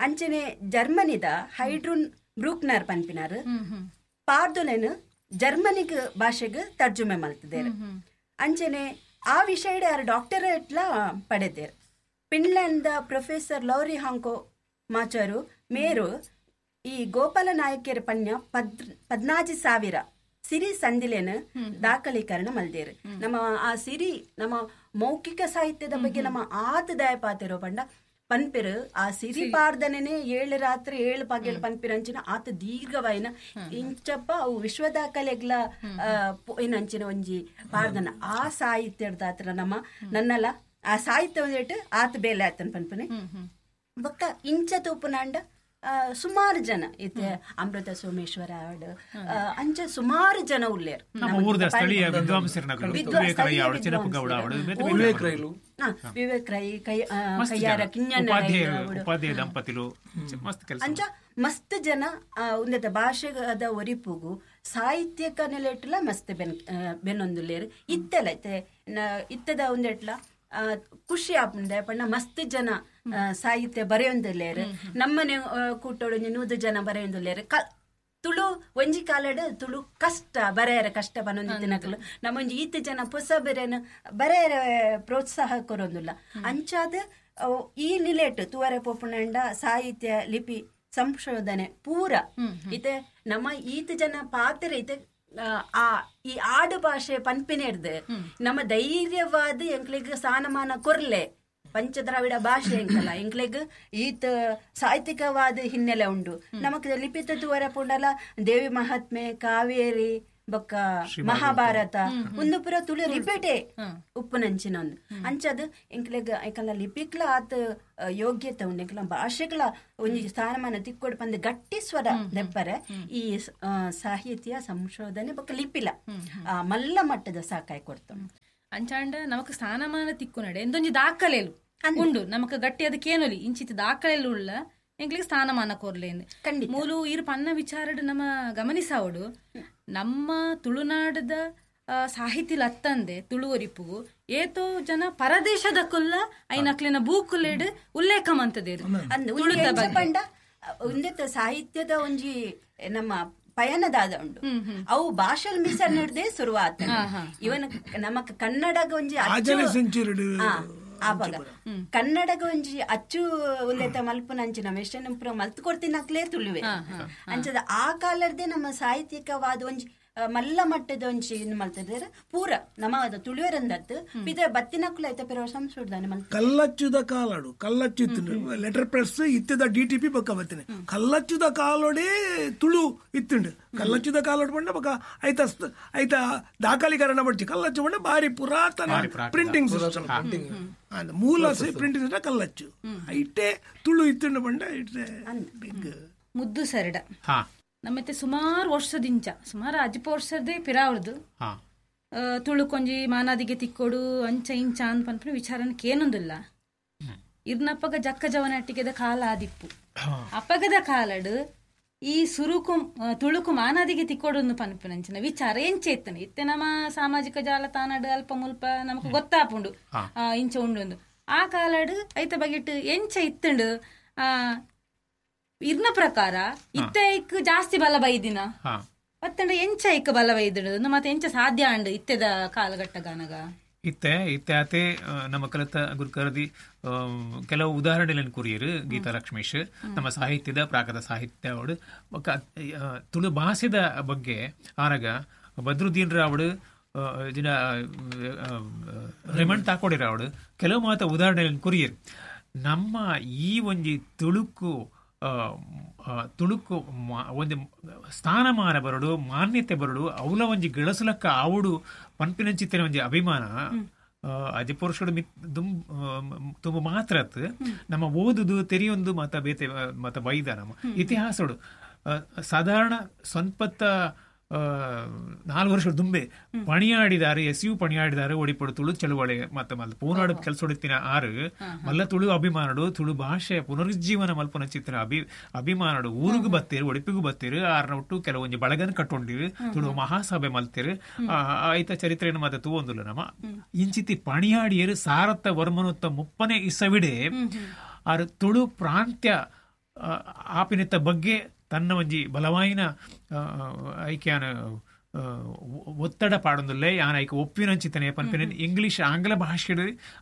ಅಂಚನೆ ಜರ್ಮನಿದ ಹೈಡ್ರೂನ್ ಬ್ರೂಕ್ನರ್ ಪನ್ಪಿನಾರ್ ಪಾರ್ದೊಲೆನ್ ಜರ್ಮನಿಗ್ ಭಾಷೆಗ್ ತರ್ಜುಮೆ ಮಲ್ತದೇರು. ಅಂಚನೆ ಆ ವಿಷಯಡ್ ಯಾರು ಡಾಕ್ಟರೇಟ್ಲ ಪಡೆದೇರು. ಫಿನ್ಲ್ಯಾಂಡ್ the professor lorry ಹಾಂಕೋ ಮಾಚಾರು ಮೇರು ಈ ಗೋಪಾಲ ನಾಯಕರ ಪನ್ಯ 14,000 ಸಿರಿ ಸಂದಿಲೇನ ದಾಖಲೀಕರಣ ಮಲ್ದೇರು. ನಮ್ಮ ಆ ಸಿರಿ ನಮ್ಮ ಮೌಖಿಕ ಸಾಹಿತ್ಯದ ಬಗ್ಗೆ ನಮ್ಮ ಆತ ದಯಪಾತಿರೋ ಪಂಡ ಪನ್ಪಿರು ಆ ಸಿರಿ ಪಾರ್ದನೇ 7 ರಾತ್ರಿ 7 ಪಗೆಲ್ ಪನ್ಪಿರಂಚಿನ ಆತ ದೀರ್ಘವಾಯಿನ ಇಂಚಪ್ಪ ಅವು ವಿಶ್ವ ದಾಖಲೆಗ್ಲ ಏನಂಚಿನ ಒಂಜಿ ಪಾರ್ದನ ಆ ಸಾಹಿತ್ಯದ ನಮ್ಮ ನನ್ನಲ್ಲ ಆ ಸಾಹಿತ್ಯ ಒಂದಿಟ್ಟು ಆತ ಬೇಲೆ ಆತನ ಪನ್ಪನೆ. ಬೊಕ್ಕ ಇಂಚ ತೂಪುನಾಂಡ ಸುಮಾರು ಜನ ಇತ್ತೆ ಅಮೃತ ಸೋಮೇಶ್ವರ ಆಡ್ ಅಂಚ ಸುಮಾರು ಜನ ಉಲ್ಲೇರು. ವಿವೇಕ್ ರೈ ಕೈಯಾರ ಕಿಂಜಣ್ಣ ದಂಪತಿಲು ಅಂಚ ಮಸ್ತ್ ಜನ ಉಂದೆತ ಭಾಷೆದ ಒರಿಪುಗು ಸಾಹಿತ್ಯಕ ನೆಲೆಟ್ಲ ಮಸ್ತ್ ಬೆನ್ನೊಂದುಲ್ಲೇರು. ಇತ್ತೆಲ್ಲ ಇತ್ತೆ ಇತ್ತದ ಒಂದೆಟ್ಲ ಖುಷಿ ಆಪುಂಡೆ ಪಂಡ ಮಸ್ತ್ ಜನ ಸಾಹಿತ್ಯ ಬರೆಯೊಂದುಲ್ಲೇರು. ನಮ್ಮನೆ ಕೂಟೋಡು 100 ಜನ ಬರೆಯೊಂದುಲ್ಲೇರು. ತುಳು ಒಂಜಿ ಕಾಲಡ್ ತುಳು ಕಷ್ಟ ಬರೆಯರ ಕಷ್ಟ ಬನ್ನೊಂದು ತಿನಕಲು ನಮ್ಮೊಂಜಿ ಈತ ಜನ ಪೊಸ ಬೆರೆನ ಬರೆಯರ ಪ್ರೋತ್ಸಾಹ ಕೊರೊಂದುಲ್ಲ. ಅಂಚಾದ ಈ ನಿಲೆಟ್ ತುವರೆ ಪೋಪುನಂಡ ಸಾಹಿತ್ಯ ಲಿಪಿ ಸಂಶೋಧನೆ ಪೂರ ಇತ್ತೆ ನಮ್ಮ ಈತ ಜನ ಪಾತ್ರ ಇತ್ತೆ ಆ ಈ ಆಡು ಭಾಷೆ ಪನ್ಪಿನೆರ್ದು ನಮ್ಮ ಧೈರ್ಯವಾದ ಎಂಕ್ಲೆಗ್ ಸ್ಥಾನಮಾನ ಕೊರ್ಲೆ ಪಂಚದ್ರಾವಿಡ ಭಾಷೆ ಎಂಕಲ್ಲ ಎಂಕ್ಲೆಗ್ ಈತ ಸಾಹಿತ್ಯಿಕವಾದ ಹಿನ್ನೆಲೆ ಉಂಡು. ನಮಕ್ ಲಿಪಿತ ತುವರ ಪುಂಡಲ ದೇವಿ ಮಹಾತ್ಮೆ ಕಾವೇರಿ ಬೊಕ್ಕ ಮಹಾಭಾರತ ಒಂದು ಪೂರ ತುಳು ರಿಪೀಟೆ ಉಪ್ಪುನಂಚಿನ ಒಂದು ಅಂಚದ ಎಂಕ್ಲೆಗ್ ಎಂಕಲ್ಲ ಲಿಪಿಕ್ಲ ಆತ ಯೋಗ್ಯತೆ ಉಂಡು. ಎಂಕಲ ಭಾಷೆಗಳ ಒಂಜಿ ಸ್ಥಾನಮಾನ ತಿಕ್ಕೊಡು ಪಂದ್ ಗಟ್ಟಿ ಸ್ವರ ದೆಪ್ಪರೆ ಈ ಸಾಹಿತ್ಯ ಸಂಶೋಧನೆ ಬೊಕ್ಕ ಲಿಪಿಲ ಮಲ್ಲ ಮಟ್ಟದ ಸಾಕಾಯ ಕೊಡ್ತು. ಅಂಚಾಂಡ ನಮಕ್ ಸ್ಥಾನಮಾನ ತಿಕ್ಕು ನಡೆ ಎಂದೊಂಜಿ ದಾಖಲೆಲು ಉಂಡು ನಮಕ್ ಗಟ್ಟಿ ಅದಕ್ಕೆ ಏನೊಲಿ ಇಂಚಿತ ದಾಖಲೆಲು ಉಳ್ಳ ಎಂಕ್ಲಿಗೆ ಸ್ಥಾನಮಾನ ಕೊರ್ಲೇಂದು. ಮೂಲು ಇರು ಪನ್ನ ವಿಚಾರಡ್ ನಮ್ಮ ಗಮನಿಸಾವಡು ನಮ್ಮ ತುಳುನಾಡದ ಸಾಹಿತಿ ಲತ್ತಂದೆ ತುಳುವರಿಪುಗು ಏತೋ ಜನ ಪರದೇಶದ ಕುಲ್ಲ ಐನಕ್ಲಿನ ಬೂಕುಲೆಡ್ ಉಲ್ಲೇಖ ಮಂತದೇರು. ಪಂಡ ಉಂದೆತ ಸಾಹಿತ್ಯದ ಒಂಜಿ ನಮ್ಮ ಪಯಣದಾದ ಉಂಡು ಅವು ಭಾಷೆ ಮಿಸರ್ ನಡ್ದೆ ಶುರುವಾತ. ಇವನ್ ನಮ್ಮ ಕನ್ನಡಗ ಒಂಜಿ ಆವಾಗ ಕನ್ನಡಗ ಒಂಜಿ ಅಚ್ಚು ಉಲ್ಲೇತ ಮಲ್ಪುನಂಚಿನ ಮೆಷನ್ ಪೂರ ಮಲ್ತು ಕೊಡ್ತಿನಕ್ಲೇ ತುಳುವೆ ಅಂಚದ ಆ ಕಾಲರ್ದೇ ನಮ್ಮ ಸಾಹಿತ್ಯಿಕವಾದ ಒಂಜಿ ಮಲ್ಲ ಮಟ್ಟದ ಒಂಜಿ ಇದು ಮಲ್ತದ್ರೆ ಪೂರ ನಮ್ಮ ತುಳುವೆರಂದತ್ತು ಪಿದ ಬತ್ತಿನಕ್ಲು ಐತ ಪಿರ ಸಂಶೋಧನೆ ಮಲ್ತ. ಕಲ್ಲಚ್ಚುದ ಕಾಲಡು ಕಲ್ಲಚ್ಚು ಇತ್ತು ಲೆಟರ್ ಪ್ರೆಸ್ ಇತ್ತದ ಡಿ ಟಿ ಪಿ ಬೊಕ್ಕ ಬತ್ತಿನ ಕಲ್ಲಚ್ಚುದ ಕಾಲೋಡೆ ತುಳು ಇತ್ತುಂಡು. ಕಲ್ಲಚ್ಚುದ ಕಾಲೋಡು ಪಂಡ ಬೊಕ್ಕ ಐತ ಐತ ದಾಖಲೀಕರಣ ಪಡ್ಚಿ ಕಲ್ಲಚ್ಚು ಪಂಡ ಬಾರಿ ಪುರಾತನ ಪ್ರಿಂಟಿಂಗ್ ಸಿಸ್ಟಮ್ ಮೂಲ ಪ್ರಿಂಟಿಂಗ್ ಸಿಸ್ಟಮ್ ಕಲ್ಲಚ್ಚು ಐಟೆ ತುಳು ಇತ್ತುಂಡು ಪಂಡ ಇಟ್ಟೆ ಬಿಗ್ ಮುದ್ದು ಸರಡ ನಮ್ಮತ್ತೆ ಸುಮಾರು ವರ್ಷದಿಂಚ ಸುಮಾರು ಅಜ್ಪ ವರ್ಷದೇ ಪಿರಾವರ್ದು ತುಳು ಕೊಂಜಿ ಮಾನಾದಿಗೆ ತಿಕ್ಕೋಡು ಅಂಚ ಇಂಚ ಅಂದ್ ಪನ್ಪಿನ ವಿಚಾರನ ಕೇನೊಂದಿಲ್ಲ. ಇರ್ನಪ್ಪಗ ಜಕ್ಕ ಜವನಟ್ಟಿಗೆದ ಕಾಲ ಆದಿಪ್ಪು ಅಪ್ಪಗದ ಕಾಲಡು ಈ ಸುರುಕು ತುಳುಕು ಮಾನಾದಿಗೆ ತಿಕ್ಕೋಡು ಪನ್ಪಿನಂಚಿನ ವಿಚಾರ ಎಂಚೆ ಇತ್ತನೆ ಇತ್ತೆ ನಮ್ಮ ಸಾಮಾಜಿಕ ಜಾಲತಾಣಡು ಅಲ್ಪ ಮುಲ್ಪ ನಮಕ್ ಗೊತ್ತಾಪುಂಡು ಇಂಚ ಉಂಡು. ಆ ಕಾಲಡು ಐತ ಬಗೆಟ್ ಎಂಚ ಇತ್ತುಂಡು ಇರ್ನ ಪ್ರಕಾರ ಇತ್ತೆ ಐಕ್ ಜಾಸ್ತಿ ಬಲ ಬೈದಿನ ಪತ್ತಂಡ ಎಂಚ ಐಕ್ ಬಲ ಬೈದಿಡು ಮತ್ತೆ ಎಂಚ ಸಾಧ್ಯ ಅಂಡು ಇತ್ತೆದ ಕಾಲಘಟ್ಟಗಾನಗ ಇತ್ತೆ ಇತ್ತೆ ಆತೆ ನಮ್ಮ ಕಲಿತ ಗುರುಕರದಿ ಕೆಲವು ಉದಾಹರಣೆಗಳನ್ನು ಕುರಿಯರು ಗೀತಾ ಲಕ್ಷ್ಮೀಶ್ ನಮ್ಮ ಸಾಹಿತ್ಯದ ಪ್ರಾಕೃತ ಸಾಹಿತ್ಯ ಅವಡು ತುಳು ಭಾಷೆದ ಬಗ್ಗೆ ಆರಗ ಬದ್ರುದ್ದೀನ್ ರಾವಡು ಜಿನ ರೆಮಂಡ್ ತಾಕೋಡಿರ ಅವಡು ಕೆಲವು ಮಾತ ಉದಾಹರಣೆಗಳನ್ನು ಕುರಿಯರು. ನಮ್ಮ ಈ ಒಂಜಿ ತುಳುಕು ತುಳುಕು ಒಂಜಿ ಸ್ಥಾನಮಾನ ಬರಡು, ಮಾನ್ಯತೆ ಬರಡು, ಅವಲ ಒಂಜಿ ಗಳಸುಲಕ್ಕ ಆವುಡು ಪನ್ಪಿನಂಚಿತ್ತಿನ ಒಂಜಿ ಅಭಿಮಾನ ಅಜಪುರುಷಡು ತುಂಬ ಮಾತ್ರ ನಮ್ಮ ಓದುದು ತೆರೆಯೊಂದು ಮಾತ ಬೇತೆ ಮಾತ ಬೈದ ನಮ್ಮ ಇತಿಹಾಸಡು ಸಾಧಾರಣ ಸ್ವಂಪತ್ತ 4 ವರ್ಷ ದುಂಬೆ ಪಣಿಯಾಡಿದಾರೆ, ಎಸ್ you ಪಣಿಯಾಡಿದಾರೆ ಒಡಿಪಡು ತುಳು ಚಳುವಳಿ ಮತ್ತೆ ಮಲ್ಲ ಪೂನಾಡು ಕೆಲಸ ಹೊಡಿತಿನ ಆರು ಮಲ್ಲ ತುಳು ಅಭಿಮಾನಡು, ತುಳು ಭಾಷೆ ಪುನರುಜ್ಜೀವನ ಮಲ್ಪನ ಚಿತ್ರ ಅಭಿಮಾನಡು ಊರಿಗೂ ಬತ್ತೀರು, ಒಡಿಪಿಗೂ ಬತ್ತೀರು. ಆರನ ಒಟ್ಟು ಕೆಲವೊಂಜಿ ಬಳಗನ ಕಟ್ಟೊಂಡಿರು, ತುಳು ಮಹಾಸಭೆ ಮಲ್ತಿರು. ಆಯ್ತ ಚರಿತ್ರೆಯನ್ನು ಮತ್ತೆ ತೂವೊಂದುಲ್ಲ ನಮ್ಮ ಇಂಚಿತಿ ಪಣಿಯಾಡಿಯರು ಸಾರತ್ತ ವರ್ಮನುತ್ತ 30ನೇ ಇಸವಿಡೆ ಆರು ತುಳು ಪ್ರಾಂತ್ಯ ಆಪಿನಿತ್ತ ಬಗ್ಗೆ ತನ್ನ ಒಂಜಿ ಬಲವಾಯಿನ ಐಕ್ಯಾನ ಒತ್ತಡ ಪಾಡೊಂದುಲ್ಲೆ ಯಾನ ಐಕ ಒಪ್ಪಿನಂಚಿತನೆ ಪನ್ಪಿನ ಇಂಗ್ಲೀಷ್ ಆಂಗ್ಲ ಭಾಷೆ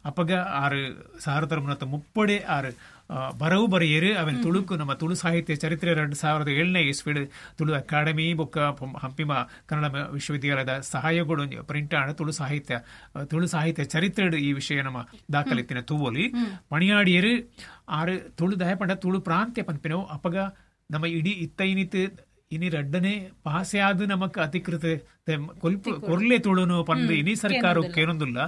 ಅಪಗ 6 30 6 ಬರವು ಬರೆಯರು. ಅವನ್ ತುಳುಕು ನಮ್ಮ ತುಳು ಸಾಹಿತ್ಯ ಚರಿತ್ರೆ 2007ನೇ ಇಸ್ವಿಡ್ ತುಳು ಅಕಾಡೆಮಿ ಬೊಕ್ಕ ಹಂಪಿಮ ಕನ್ನಡ ವಿಶ್ವವಿದ್ಯಾಲಯದ ಸಹಾಯಗಳು ಪ್ರಿಂಟ್ ಆಣ ತುಳು ಸಾಹಿತ್ಯ ಚರಿತ್ರೆ ಈ ವಿಷಯ ನಮ್ಮ ದಾಖಲಿತ್ತಿನ ತೂವೊಲಿ ಪಣಿಯಾಡಿಯರು ಆರು ತುಳು ದಯಪಂಡ ತುಳು ಪ್ರಾಂತ್ಯ ಪನ್ಪಿನವು ಅಪಗ ನಮ್ಮ ಇಡೀ ಇತ್ತೈನಿತ್ ಇನಿ ರಡ್ಡನೆ ಪಾಸೆ ಆದ ನಮಕ್ ಅಧಿಕೃತ ಕೊರ್ಲೆ ತುಳುನು ಪಂದು ಇನಿ ಸರ್ಕಾರ ಕೇನೊಂದುಲ್ಲ.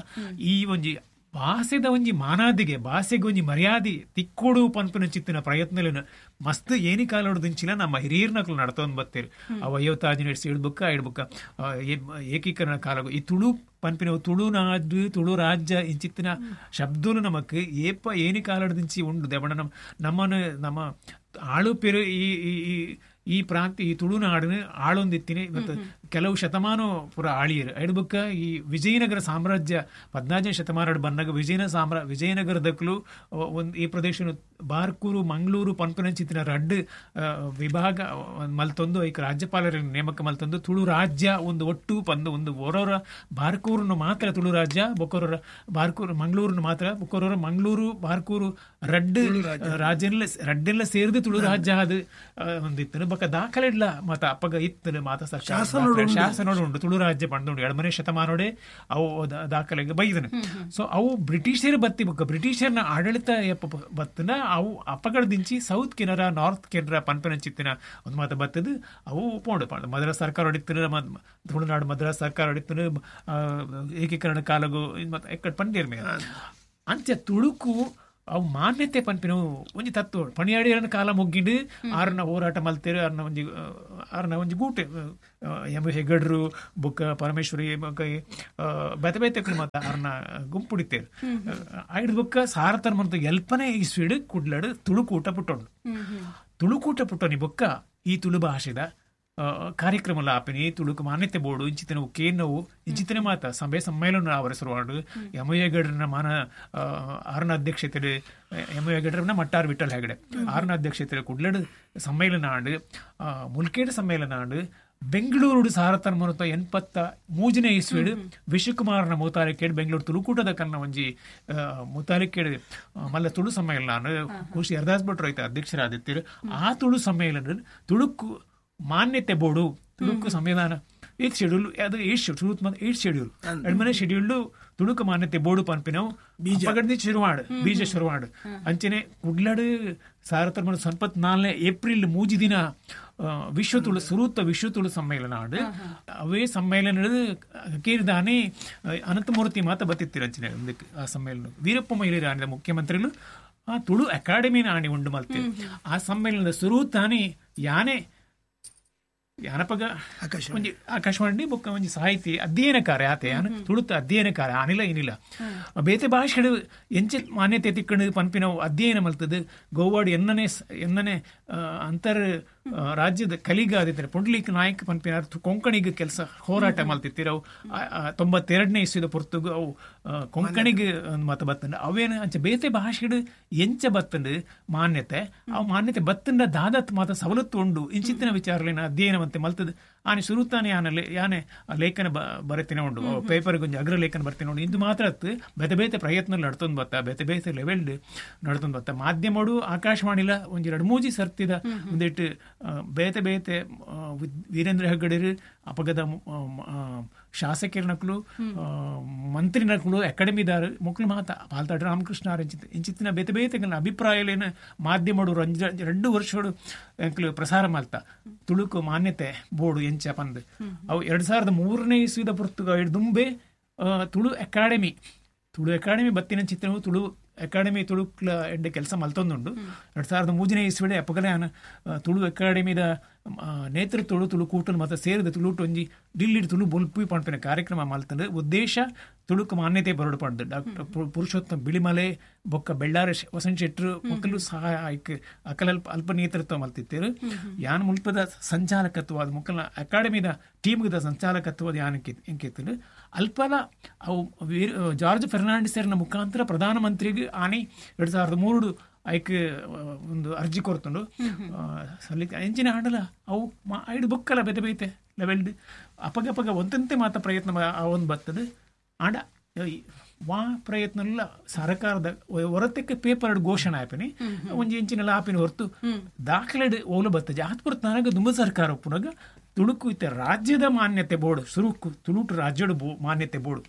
ಈ ಒಂಜಿ ಭಾಷೆದ ಒಂಜಿ ಮಾನಾದಿಗೆ ಭಾಷೆಗೆ ಒಂಜಿ ಮರ್ಯಾದೆ ತಿಕ್ಕೋಡು ಪನ್ಪಿನ ಚಿತ್ತಿನ ಪ್ರಯತ್ನಲೇನು ಮಸ್ತ್ ಏನಿ ಕಾಲೋಡು ನಮ್ಮ ಹಿರಿಯರ್ನಕ್ಲು ನಡ್ತೊಂದು ಬತ್ತೀರು. ಅವ 55 ಇಡ್ಬುಕ್ಕ ಇಡ್ಬುಕ್ಕ ಏಕೀಕರಣ ಕಾಲ ಈ ತುಳು ಪನ್ಪಿನ ತುಳುನಾಡು ತುಳು ರಾಜ್ಯ ಇಂಚಿತ್ತಿನ ಶಬ್ದನು ನಮಕ್ ಏಪ ಏನಿ ಕಾಲೋಡು ಉಂಡು ದೇವಣ್ಣ ನಮ್ಮನ್ನು ನಮ್ಮ ಆಳುಪೆರು ಈ ಈ ಪ್ರಾಂತ್ಯ ಈ ತುಳುನಾಡನ್ನು ಆಳೊಂದಿತ್ತೀನಿ ಮತ್ತು ಕೆಲವು ಶತಮಾನ ಪುರ ಆಳಿಯರು ಎಡ್ಬುಕ್ಕ ಈ ವಿಜಯನಗರ ಸಾಮ್ರಾಜ್ಯ 14ನೇ ಶತಮಾನ ಬಂದಾಗ ವಿಜಯನಗರದಕ್ಕಲು ಒಂದು ಈ ಪ್ರದೇಶ ಬಾರ್ಕೂರು ಮಂಗಳೂರು ಪನ್ಪನಂಚಿತ್ತಿನ ರಡ್ಡು ವಿಭಾಗ ಮಲ್ತೊಂದು ಐಕ ರಾಜ್ಯಪಾಲರ ನೇಮಕ ಮಲ್ತೊಂದು ತುಳು ರಾಜ್ಯ ಒಂದು ಒಟ್ಟು ಪಂದು ಒಂದು ಓರೋರ ಬಾರ್ಕೂರನ್ನು ಮಾತ್ರ ತುಳು ರಾಜ್ಯ ಬೊಕ್ಕೋರ ಬಾರ್ಕೂರು ಮಂಗಳೂರನ್ನು ಮಾತ್ರ ಬೊಕ್ಕೋರ ಮಂಗಳೂರು ಬಾರ್ಕೂರು ರಡ್ಡು ರಾಜ್ಯನೆಲ್ಲ ರಡ್ಡೆಲ್ಲ ಸೇರಿದು ತುಳು ರಾಜ್ಯ ಅದು ಒಂದಿತ್ತು. ಬೊಕ್ಕ ದಾಖಲೆ ಇಲ್ಲ ಮತ ಅಪ್ಪಗ ಇತ್ತು ಮಾತ ಶಾಸನ ಉಂಟು ತುಳು ರಾಜ್ಯ ಪಂಡುಂಡು 2ನೇ ಶತಮಾನೋಡೆ ಅವು ದಾಖಲೆಗೆ ಬೈದನು. ಸೊ ಅವು ಬ್ರಿಟಿಷರು ಬತ್ತಿ ಬೊಕ್ಕ ಬ್ರಿಟಿಷರ್ನ ಆಡಳಿತ ಬತ್ತನ ಅವು ಅಪ್ಪಗಡದಿಂಚಿ ಸೌತ್ ಕೆನರಾ ನಾರ್ತ್ ಕೆನರಾ ಪನ್ಪನಂಚಿತ್ತಿನ ಒಂದು ಮಾತು ಬತ್ತದು ಅವು ಪೋಂಡು ಮದ್ರಾಸ್ ಸರ್ಕಾರ ಹೊಡಿತು, ತುಳುನಾಡು ಮದ್ರಾಸ್ ಸರ್ಕಾರ ಹೊಡಿತು ಏಕೀಕರಣ ಕಾಲಗು ಮತ್ತೆ ಎಕ್ಕಡ್ ಪಂಡೇರ್ ಮೇಲೆ ಅಂಚೆ ತುಳುಕು ಅವು ಮಾನ್ಯತೆ ಪನ್ಪಿನವು ಒಂಜಿ ತತ್ವ ಪಣಿಯಾಡಿಯರನ ಕಾಲ ಮುಗ್ಗಿಂಡು ಆರನ ಹೋರಾಟ ಮಲ್ತೇರು ಆರನ ಒಂಜಿ ಗೂಟೆ ಎಂ ಹೆಗಡ್ರು ಬೊಕ್ಕ ಪರಮೇಶ್ವರಿ ಬೊಕ್ಕ ಬೇತೆ ಬೇತೆ ಮಾತ ಆರನ ಗುಂಪುಡಿತೇರು ಐದು ಬೊಕ್ಕ ಸಾರತನ ಮಂತ ಎಲ್ಪನೇ ಈ ಸ್ವೀಡು ಕುಡ್ಲಾಡು ತುಳುಕೂಟ ಪುಟ್ಟೊಂಡು ತುಳುಕೂಟ ಪುಟ್ಟೊನಿ ಬೊಕ್ಕ ಈ ತುಳು ಭಾಷೆದ ಕಾರ್ಯಕ್ರಮ ಆಪಿನಿ ತುಳುಕು ಮಾನ್ಯತೆ ಬೋರ್ಡು ಇಂಚಿತನ ಕೇನವು ಇಂಚಿತನ ಮಾತ ಸಭೆ ಸಮ್ಮೇಳನ ಅವರಸರುವಾಡು ಯಮಯ್ಯಗಡ್ರನ ಮಾನ ಆರನ ಅಧ್ಯಕ್ಷತೆ ಯಮಯ್ಯಗಡ್ರನ ಮಟ್ಟಾರ್ ವಿಠಲ್ ಹೆಗಡೆ ಆರನ ಅಧ್ಯಕ್ಷತೆ ಕುಡ್ಲಡು ಸಮ್ಮೇಳನ ಆಂಡು ಮುಲ್ಕೇಡು ಸಮ್ಮೇಳನ ಆಂಡು ಬೆಂಗಳೂರು ಸಾರತನ ಮುನತ 83ನೇ ಇಸ್ವಿಡು ವಿಶ್ವಕುಮಾರನ ಮುತಾಲಿಕೇಡು ಬೆಂಗಳೂರು ತುಳುಕೂಟದ ಕನ್ನ ಒಂಜಿ ಮುತಾಲಿಕೇಡು ಮಲ್ಲ ತುಳು ಸಮ್ಮೇಳನ ಖುಷಿ ಹರದಾಸ್ ಭಟ್ರು ಐತೆ ಅಧ್ಯಕ್ಷರಾದಿತ್ತಿರು. ಆ ತುಳು ಸಮ್ಮೇಳನ ತುಳುಕು ಮಾನ್ಯತೆ ಬೋರ್ಡು ತುಳುಕು ಸಂವಿಧಾನ ಏತ್ ಶೆಡ್ಯೂಲ್ ಅದು ಏಟ್ ಶೆಡ್ಯೂಲ್ ಏಟ್ ಶೆಡ್ಯೂಲ್ ಎರಡನೇ ಶೆಡ್ಯೂಲ್ ತುಳುಕು ಮಾನ್ಯತೆ ಬೋರ್ಡು ಪನ್ಪಿನವು ಬೀಜ ಶುರುವಾಡು ಬೀಜ ಶುರುವಾಡು ಅಂಚನೆ ಕುಡ್ಲಡು 1974 ಏಪ್ರಿಲ್ 3 ದಿನ ವಿಶ್ವ ತುಳು ಸುರೂತ ವಿಶ್ವ ತುಳು ಸಮ್ಮೇಳನ ಆಡು ಅವೇ ಸಮ್ಮೇಳನ ಕೇರಿದಾನೆ ಅನಂತಮೂರ್ತಿ ಮಾತ ಬತ್ತಿತ್ತಿರ ಅಂಚನೆ ಆ ಸಮ್ಮೇಳನ ವೀರಪ್ಪ ಮೊಯ್ಲಿ ಆಡಿದ ಮುಖ್ಯಮಂತ್ರಿಗಳು ಆ ತುಳು ಅಕಾಡೆಮಿನ ಆಣಿ ಉಂಡು ಮಲ್ತೆ ಆ ಸಮ್ಮೇಳನದ ಸುರೂತಾನೆ ಯಾನೆ ಯಾನಪಗ ಒಂಜಿ ಆಕಾಶವಾಣಿ ಬೊಕ್ಕ ಒಂಜಿ ಸಾಹಿತಿ ಅಧ್ಯಯನಕಾರ ಆತೆ ಯಾನು ತುಳುತ ಅಧ್ಯಯನಕಾರ ಆನಿಲ್ಲ ಏನಿಲ್ಲ ಬೇತೆ ಭಾಷೆಡು ಎಂಚೆ ಮಾನ್ಯತೆ ತಿಕ್ಕಣು ಪನ್ಪಿನವು ಅಧ್ಯಯನ ಮಲ್ತದು ಗೋವಾಡು ಎನ್ನನೆ ಎನ್ನನೆ ಅಂತರ್ ರಾಜ್ಯದ ಕಲಿಗ ಆದಿತ್ತಾರೆ ಪುಂಡ್ಲೀಕ್ ನಾಯಕ್ ಪನ್ಪಿನ ಕೊಂಕಣಿಗೆ ಕೆಲಸ ಹೋರಾಟ ಮಲ್ತಿತ್ತಿರವು 92ನೇ ಇಸ್ವಿದ ಪೊರ್ತುಗು ಅವು ಕೊಂಕಣಿಗೆ ಮತ ಬತ್ತಂಡ ಅವೇನು ಅಂಚೆ ಬೇತೆ ಭಾಷೆಡು ಎಂಚ ಬತ್ತಂಡು ಮಾನ್ಯತೆ ಅವು ಮಾನ್ಯತೆ ಬತ್ತಂಡ ದಾದತ್ ಮಾತ ಸವಲತ್ತು ಉಂಡು ಇಂಚಿತ್ತಿನ ವಿಚಾರಲೇನ ಅಧ್ಯಯನ ಮಂತೆ ಮಲ್ತದ ಆನೆ ಸುರುತಾನೆ ಆನಲ್ಲಿ ಯಾನೆ ಲೇಖನ ಬರೆತಿನ ಉಂಡು ಪೇಪರ್ ಗೊಂಜಿ ಅಗ್ರ ಲೇಖನ ಬರ್ತಿನ ಉಂಡು ಇಂದು ಮಾತ್ರ ಅತ್ತು ಬೇತೆ ಬೇತೆ ಪ್ರಯತ್ನ ನಡ್ತೊಂದು ಬತ್ತ ಬೇತೆ ಬೇತೆ ಲೆವೆಲ್ ನಡ್ತೊಂದು ಬತ್ತ ಮಾಧ್ಯಮಡು ಆಕಾಶವಾಣಿಲ ಒಂಜಿ 2-3 ಸರ್ತಿದ ಒಂದಿಟ್ಟು ಬೇತೆ ಬೇತೆ ವೀರೇಂದ್ರ ಹೆಗ್ಗಡೆರು ಅಪಗದ ಶಾಸಕರನಕುಲು ಮಂತ್ರಿನಕುಲು ಅಕಾಡೆಮಿದಾರು ಮೊಕ್ಲು ಮಾತ ಪಾಲ್ತಾಡ್ ರಾಮಕೃಷ್ಣ ಇಂಚಿತ್ತಿನ ಬೇತೆ ಬೇತೆ ಅಭಿಪ್ರಾಯಲೇನ ಮಾಧ್ಯಮಡು 2 ವರ್ಷಡು ಎಂಕ್ಲು ಪ್ರಸಾರ ಮಲ್ತ ತುಳುಕು ಮಾನ್ಯತೆ ಬೋರ್ಡು ಎಂಚ ಪಂದ್ ಅವು 2003ನೇ ಇಸ್ವಿದ ಪೊರ್ತುಗ ದುಂಬೆ ತುಳು ಅಕಾಡೆಮಿ ಬತ್ತಿನ ಚಿತ್ರವು ತುಳು ಅಕಾಡೆಮಿ ತುಳುಕ್ಲ ಎಡ್ಡೆ ಕೆಲಸ ಮಲ್ತೊಂದುಂಡು. 2003ನೇ ಇಸ್ವಿಡೆ ಅಪಗಲೆ ತುಳು ಅಕಾಡೆಮಿದ ನೇತೃತ್ವಡು ತುಳು ಕೂಟಲು ಮತ್ತು ಸೇರಿದ ತುಳುಟು ಒಂಜಿ ಡಿಲ್ಲಿಡ್ ತುಳು ಬೊಲ್ಪು ಪನ್ಪಿನ ಕಾರ್ಯಕ್ರಮ ಮಲ್ತಂದು ಉದ್ದೇಶ ತುಳುಕು ಮಾನ್ಯತೆ ಬರಡು ಪಂಡ್ ಡಾಕ್ಟರ್ ಪುರುಷೋತ್ತಮ ಬಿಳಿಮಲೆ ಬೊಕ್ಕ ಬೆಳ್ಳಾರ ವಸಂತ ಶೆಟ್ರು ಮೊಕ್ಕಲು ಸಹಾಯ ಅಕಲ ಅಲ್ಪ ನೇತೃತ್ವ ಮಲ್ತಿತ್ತೇರು. ಯಾನ್ ಮುಲ್ಪದ ಸಂಚಾಲಕತ್ವ ಅದು ಮೊಕ್ಕಲ ಅಕಾಡೆಮಿದ ಟೀಮ್ದ ಸಂಚಾಲಕತ್ವದ ಯಾನ್ ಎಂಕಿತ್ತು ಅಲ್ಪಲ ಅವು ಜಾರ್ಜ್ ಫೆರ್ನಾಂಡಿಸರ್ನ ಮುಖಾಂತರ ಪ್ರಧಾನಮಂತ್ರಿಗೆ ಆನೆ 2003 ಐಕ್ ಒಂದು ಅರ್ಜಿ ಕೊರ್ತುಂಡು ಸಲ್ಲಿಕೆ ಎಂಚಿನ ಆಂಡಲ ಅವು ಐಡು ಬುಕ್ಕಲ ಬೇತೆ ಬೇತೆ ಲೆವೆಲ್ಡ್ ಅಪಗಪಗ ಒಂದಂತೆ ಮಾತ ಪ್ರಯತ್ನ ಒಂದು ಬರ್ತದೆ. ಆಂಡ ವಾ ಪ್ರಯತ್ನ ಇಲ್ಲ ಸರ್ಕಾರದ ಹೊರತಕ್ಕೆ ಪೇಪರ್ ಘೋಷಣೆ ಆಪಿನಿ ಒಂಜಿ ಇಂಚಿನೆಲ್ಲ ಆಪಿನ ಹೊರತು ದಾಖಲೆ ಓಲು ಬರ್ತದೆ. ಆತ್ಪುರ ನನಗೆ ದುಂಬ ಸರ್ಕಾರ ಪುನಗ ತುಳುಕು ಇತ್ತ ರಾಜ್ಯದ ಮಾನ್ಯತೆ ಬೋರ್ಡು ಸುರುಕು ತುಳುಟು ರಾಜ್ಯದ ಮಾನ್ಯತೆ ಬೋರ್ಡು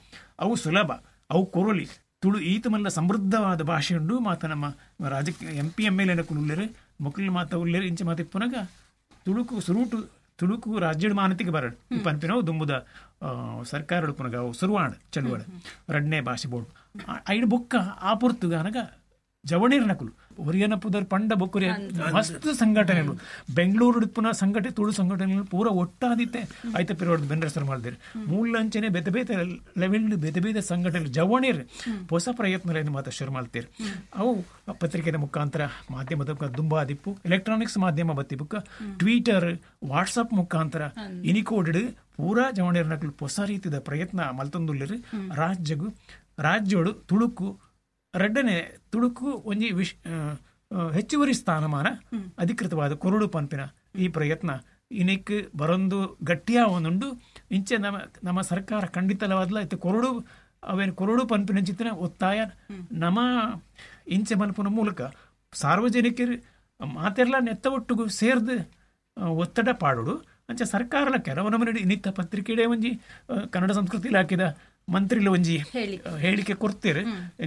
ಅವು ಸುಲಭ ಅವು ಕೊರಲಿ ತುಳು ಈತ ಮಲ್ಲ ಸಮೃದ್ಧವಾದ ಭಾಷೆ ಉಂಡು ಮಾತ ನಮ್ಮ ರಾಜಕೀಯ ಎಂ ಪಿ ಎಮ್ ಎಲ್ ಎನಕುಲು ಉಲ್ಲೇರು ಮೊಕ್ಕಲು ಮಾತ ಉಲ್ಲೇರು ಇಂಚ ಮಾತ ಪುನಗ ತುಳುಕು ಸುರುಟು ತುಳುಕು ರಾಜ್ಯದ ಮಾನ್ಯತೆಗೆ ಬರಡು ಪನ್ಪಿನವು ದುಂಬುದ ಸರ್ಕಾರ ಪುನಗ ಅವು ಸುರುವಾಣ ಚಳುವಳ ರಡ್ನೇ ಭಾಷೆ ಬೋರ್ಡು ಐಡು ಬೊಕ್ಕ ಆ ಪೊರ್ತುಗ ಅನಗ ಜವಣೀರ್ನಕುಲು ಒರಿಯನ ಪುದರ್ ಪಂಡ ಬೊಕ್ಕುರಿಯ ಮಸ್ತ್ ಸಂಘಟನೆಗಳು ಬೆಂಗಳೂರು ಪುನಃ ಸಂಘಟನೆ ತುಳು ಸಂಘಟನೆಗಳು ಪೂರ ಒಟ್ಟಾದಿತ್ತೆ ಐತ ಪಿರೋಡ್ ಬೆನ್ರಸರ್ ಮಾಡಿದಿರು ಮೂಲಂಚನೆ ಬೇತೆ ಬೇತೆ ಲೆವೆಲ್ ಬೇತೆ ಬೇತೆ ಸಂಘಟನೆ ಜವಣೀರ್ ಹೊಸ ಪ್ರಯತ್ನಗಳನ್ನು ಮಾತ್ರ ಶುರು ಮಾಡ್ತೀರಿ. ಅವು ಪತ್ರಿಕೆಯ ಮುಖಾಂತರ ಮಾಧ್ಯಮದ ದುಂಬಾದಿಪ್ಪು ಎಲೆಕ್ಟ್ರಾನಿಕ್ಸ್ ಮಾಧ್ಯಮ ಬತ್ತಿ ಬುಕ್ಕ ಟ್ವಿಟರ್ ವಾಟ್ಸಪ್ ಮುಖಾಂತರ ಇನಿಕೋಡ್ ಪೂರಾ ಜವಣೀರ್ನಕುಲು ಹೊಸ ರೀತಿಯ ಪ್ರಯತ್ನ ಮಲ್ತೊಂದುಲ್ಲೇರು. ರಾಜ್ಯಗು ರಾಜ್ಯೋಡು ತುಳುಕು ರಡ್ಡನೆ ತುಳುಕು ಒಂಜಿ ಹೆಚ್ಚುವರಿ ಸ್ಥಾನಮಾನ ಅಧಿಕೃತವಾದ ಕೊರಡು ಪಂಪಿನ ಈ ಪ್ರಯತ್ನ ಇನಿಕ್ ಬರೊಂದು ಗಟ್ಟಿಯ ಒಂದುಂಡು. ಇಂಚೆ ನಮ್ಮ ನಮ್ಮ ಸರ್ಕಾರ ಖಂಡಿತಲವಾದಲ ಇತ್ತು ಕೊರಡು ಅವೇನು ಕೊರಡು ಪಂಪಿನ ಚಿತ್ತಿನ ಒತ್ತಾಯ ನಮ್ಮ ಇಂಚೆ ಮಲ್ಪುನ ಮೂಲಕ ಸಾರ್ವಜನಿಕರು ಮಾತೆಲ್ಲ ನೆತ್ತ ಒಟ್ಟುಗು ಸೇರ್ದು ಒತ್ತಡ ಪಾಡೋಡು. ಅಂಚೆ ಸರ್ಕಾರಲ ಕೆಲವು ನಮ್ಮನೆ ಇನ್ನಿತ್ತ ಪತ್ರಿಕೆಡೆ ಒಂಜಿ ಕನ್ನಡ ಸಂಸ್ಕೃತಿ ಇಲಾಖೆದ ಮಂತ್ರಿಲ ಒಂಜಿ ಹೇಳಿಕೆ ಕೊಡ್ತೀರಿ.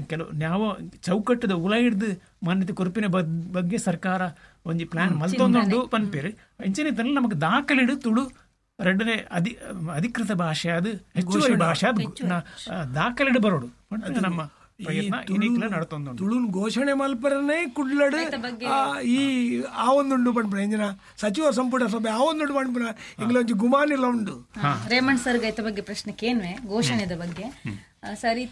ಕೆಲವು ನಾವು ಚೌಕಟ್ಟದ ಉಲ ಹಿಡ್ದು ಮಾನ್ಯತೆ ಕೊರಪಿನ ಬಗ್ಗೆ ಸರ್ಕಾರ ಒಂಜಿ ಪ್ಲಾನ್ ಮಲ್ತೊಂದುಂಡು ಪನ್ಪೇರು. ಇಂಚಿನ ತನಕ ನಮಗೆ ದಾಖಲೆಡು ತುಳು ಎರಡನೇ ಅಧಿಕೃತ ಭಾಷೆ ಅದು ಹೆಚ್ಚುವರಿ ಭಾಷೆ ಅದು ದಾಖಲೆಡು ಬರೋಡು ನಮ್ಮ ತುಳುನ್ ಘೋಷಣೆ ಮಲ್ಪರನೇ ಕುಡ್ಲಡು ಈ ಆ ಒಂದುಂಡು ಪನ್ಪುನ ಇಂಜಿನ ಸಚಿವ ಸಂಪುಟ ಸಭೆ ಆ ಒಂದುಂಡು ಪನ್ಪುನ ಇಂಗ್ಲ ಒಂಜಿ ಗುಮಾನಿಲ ಉಂಡು. ರೇಮಣ್ಣ ಸರ್ ಐತ ಬಗ್ಗೆ ಪ್ರಶ್ನೆ ಕೇನ್ವೆ ಘೋಷಣೆದ ಬಗ್ಗೆ ಸರಿ.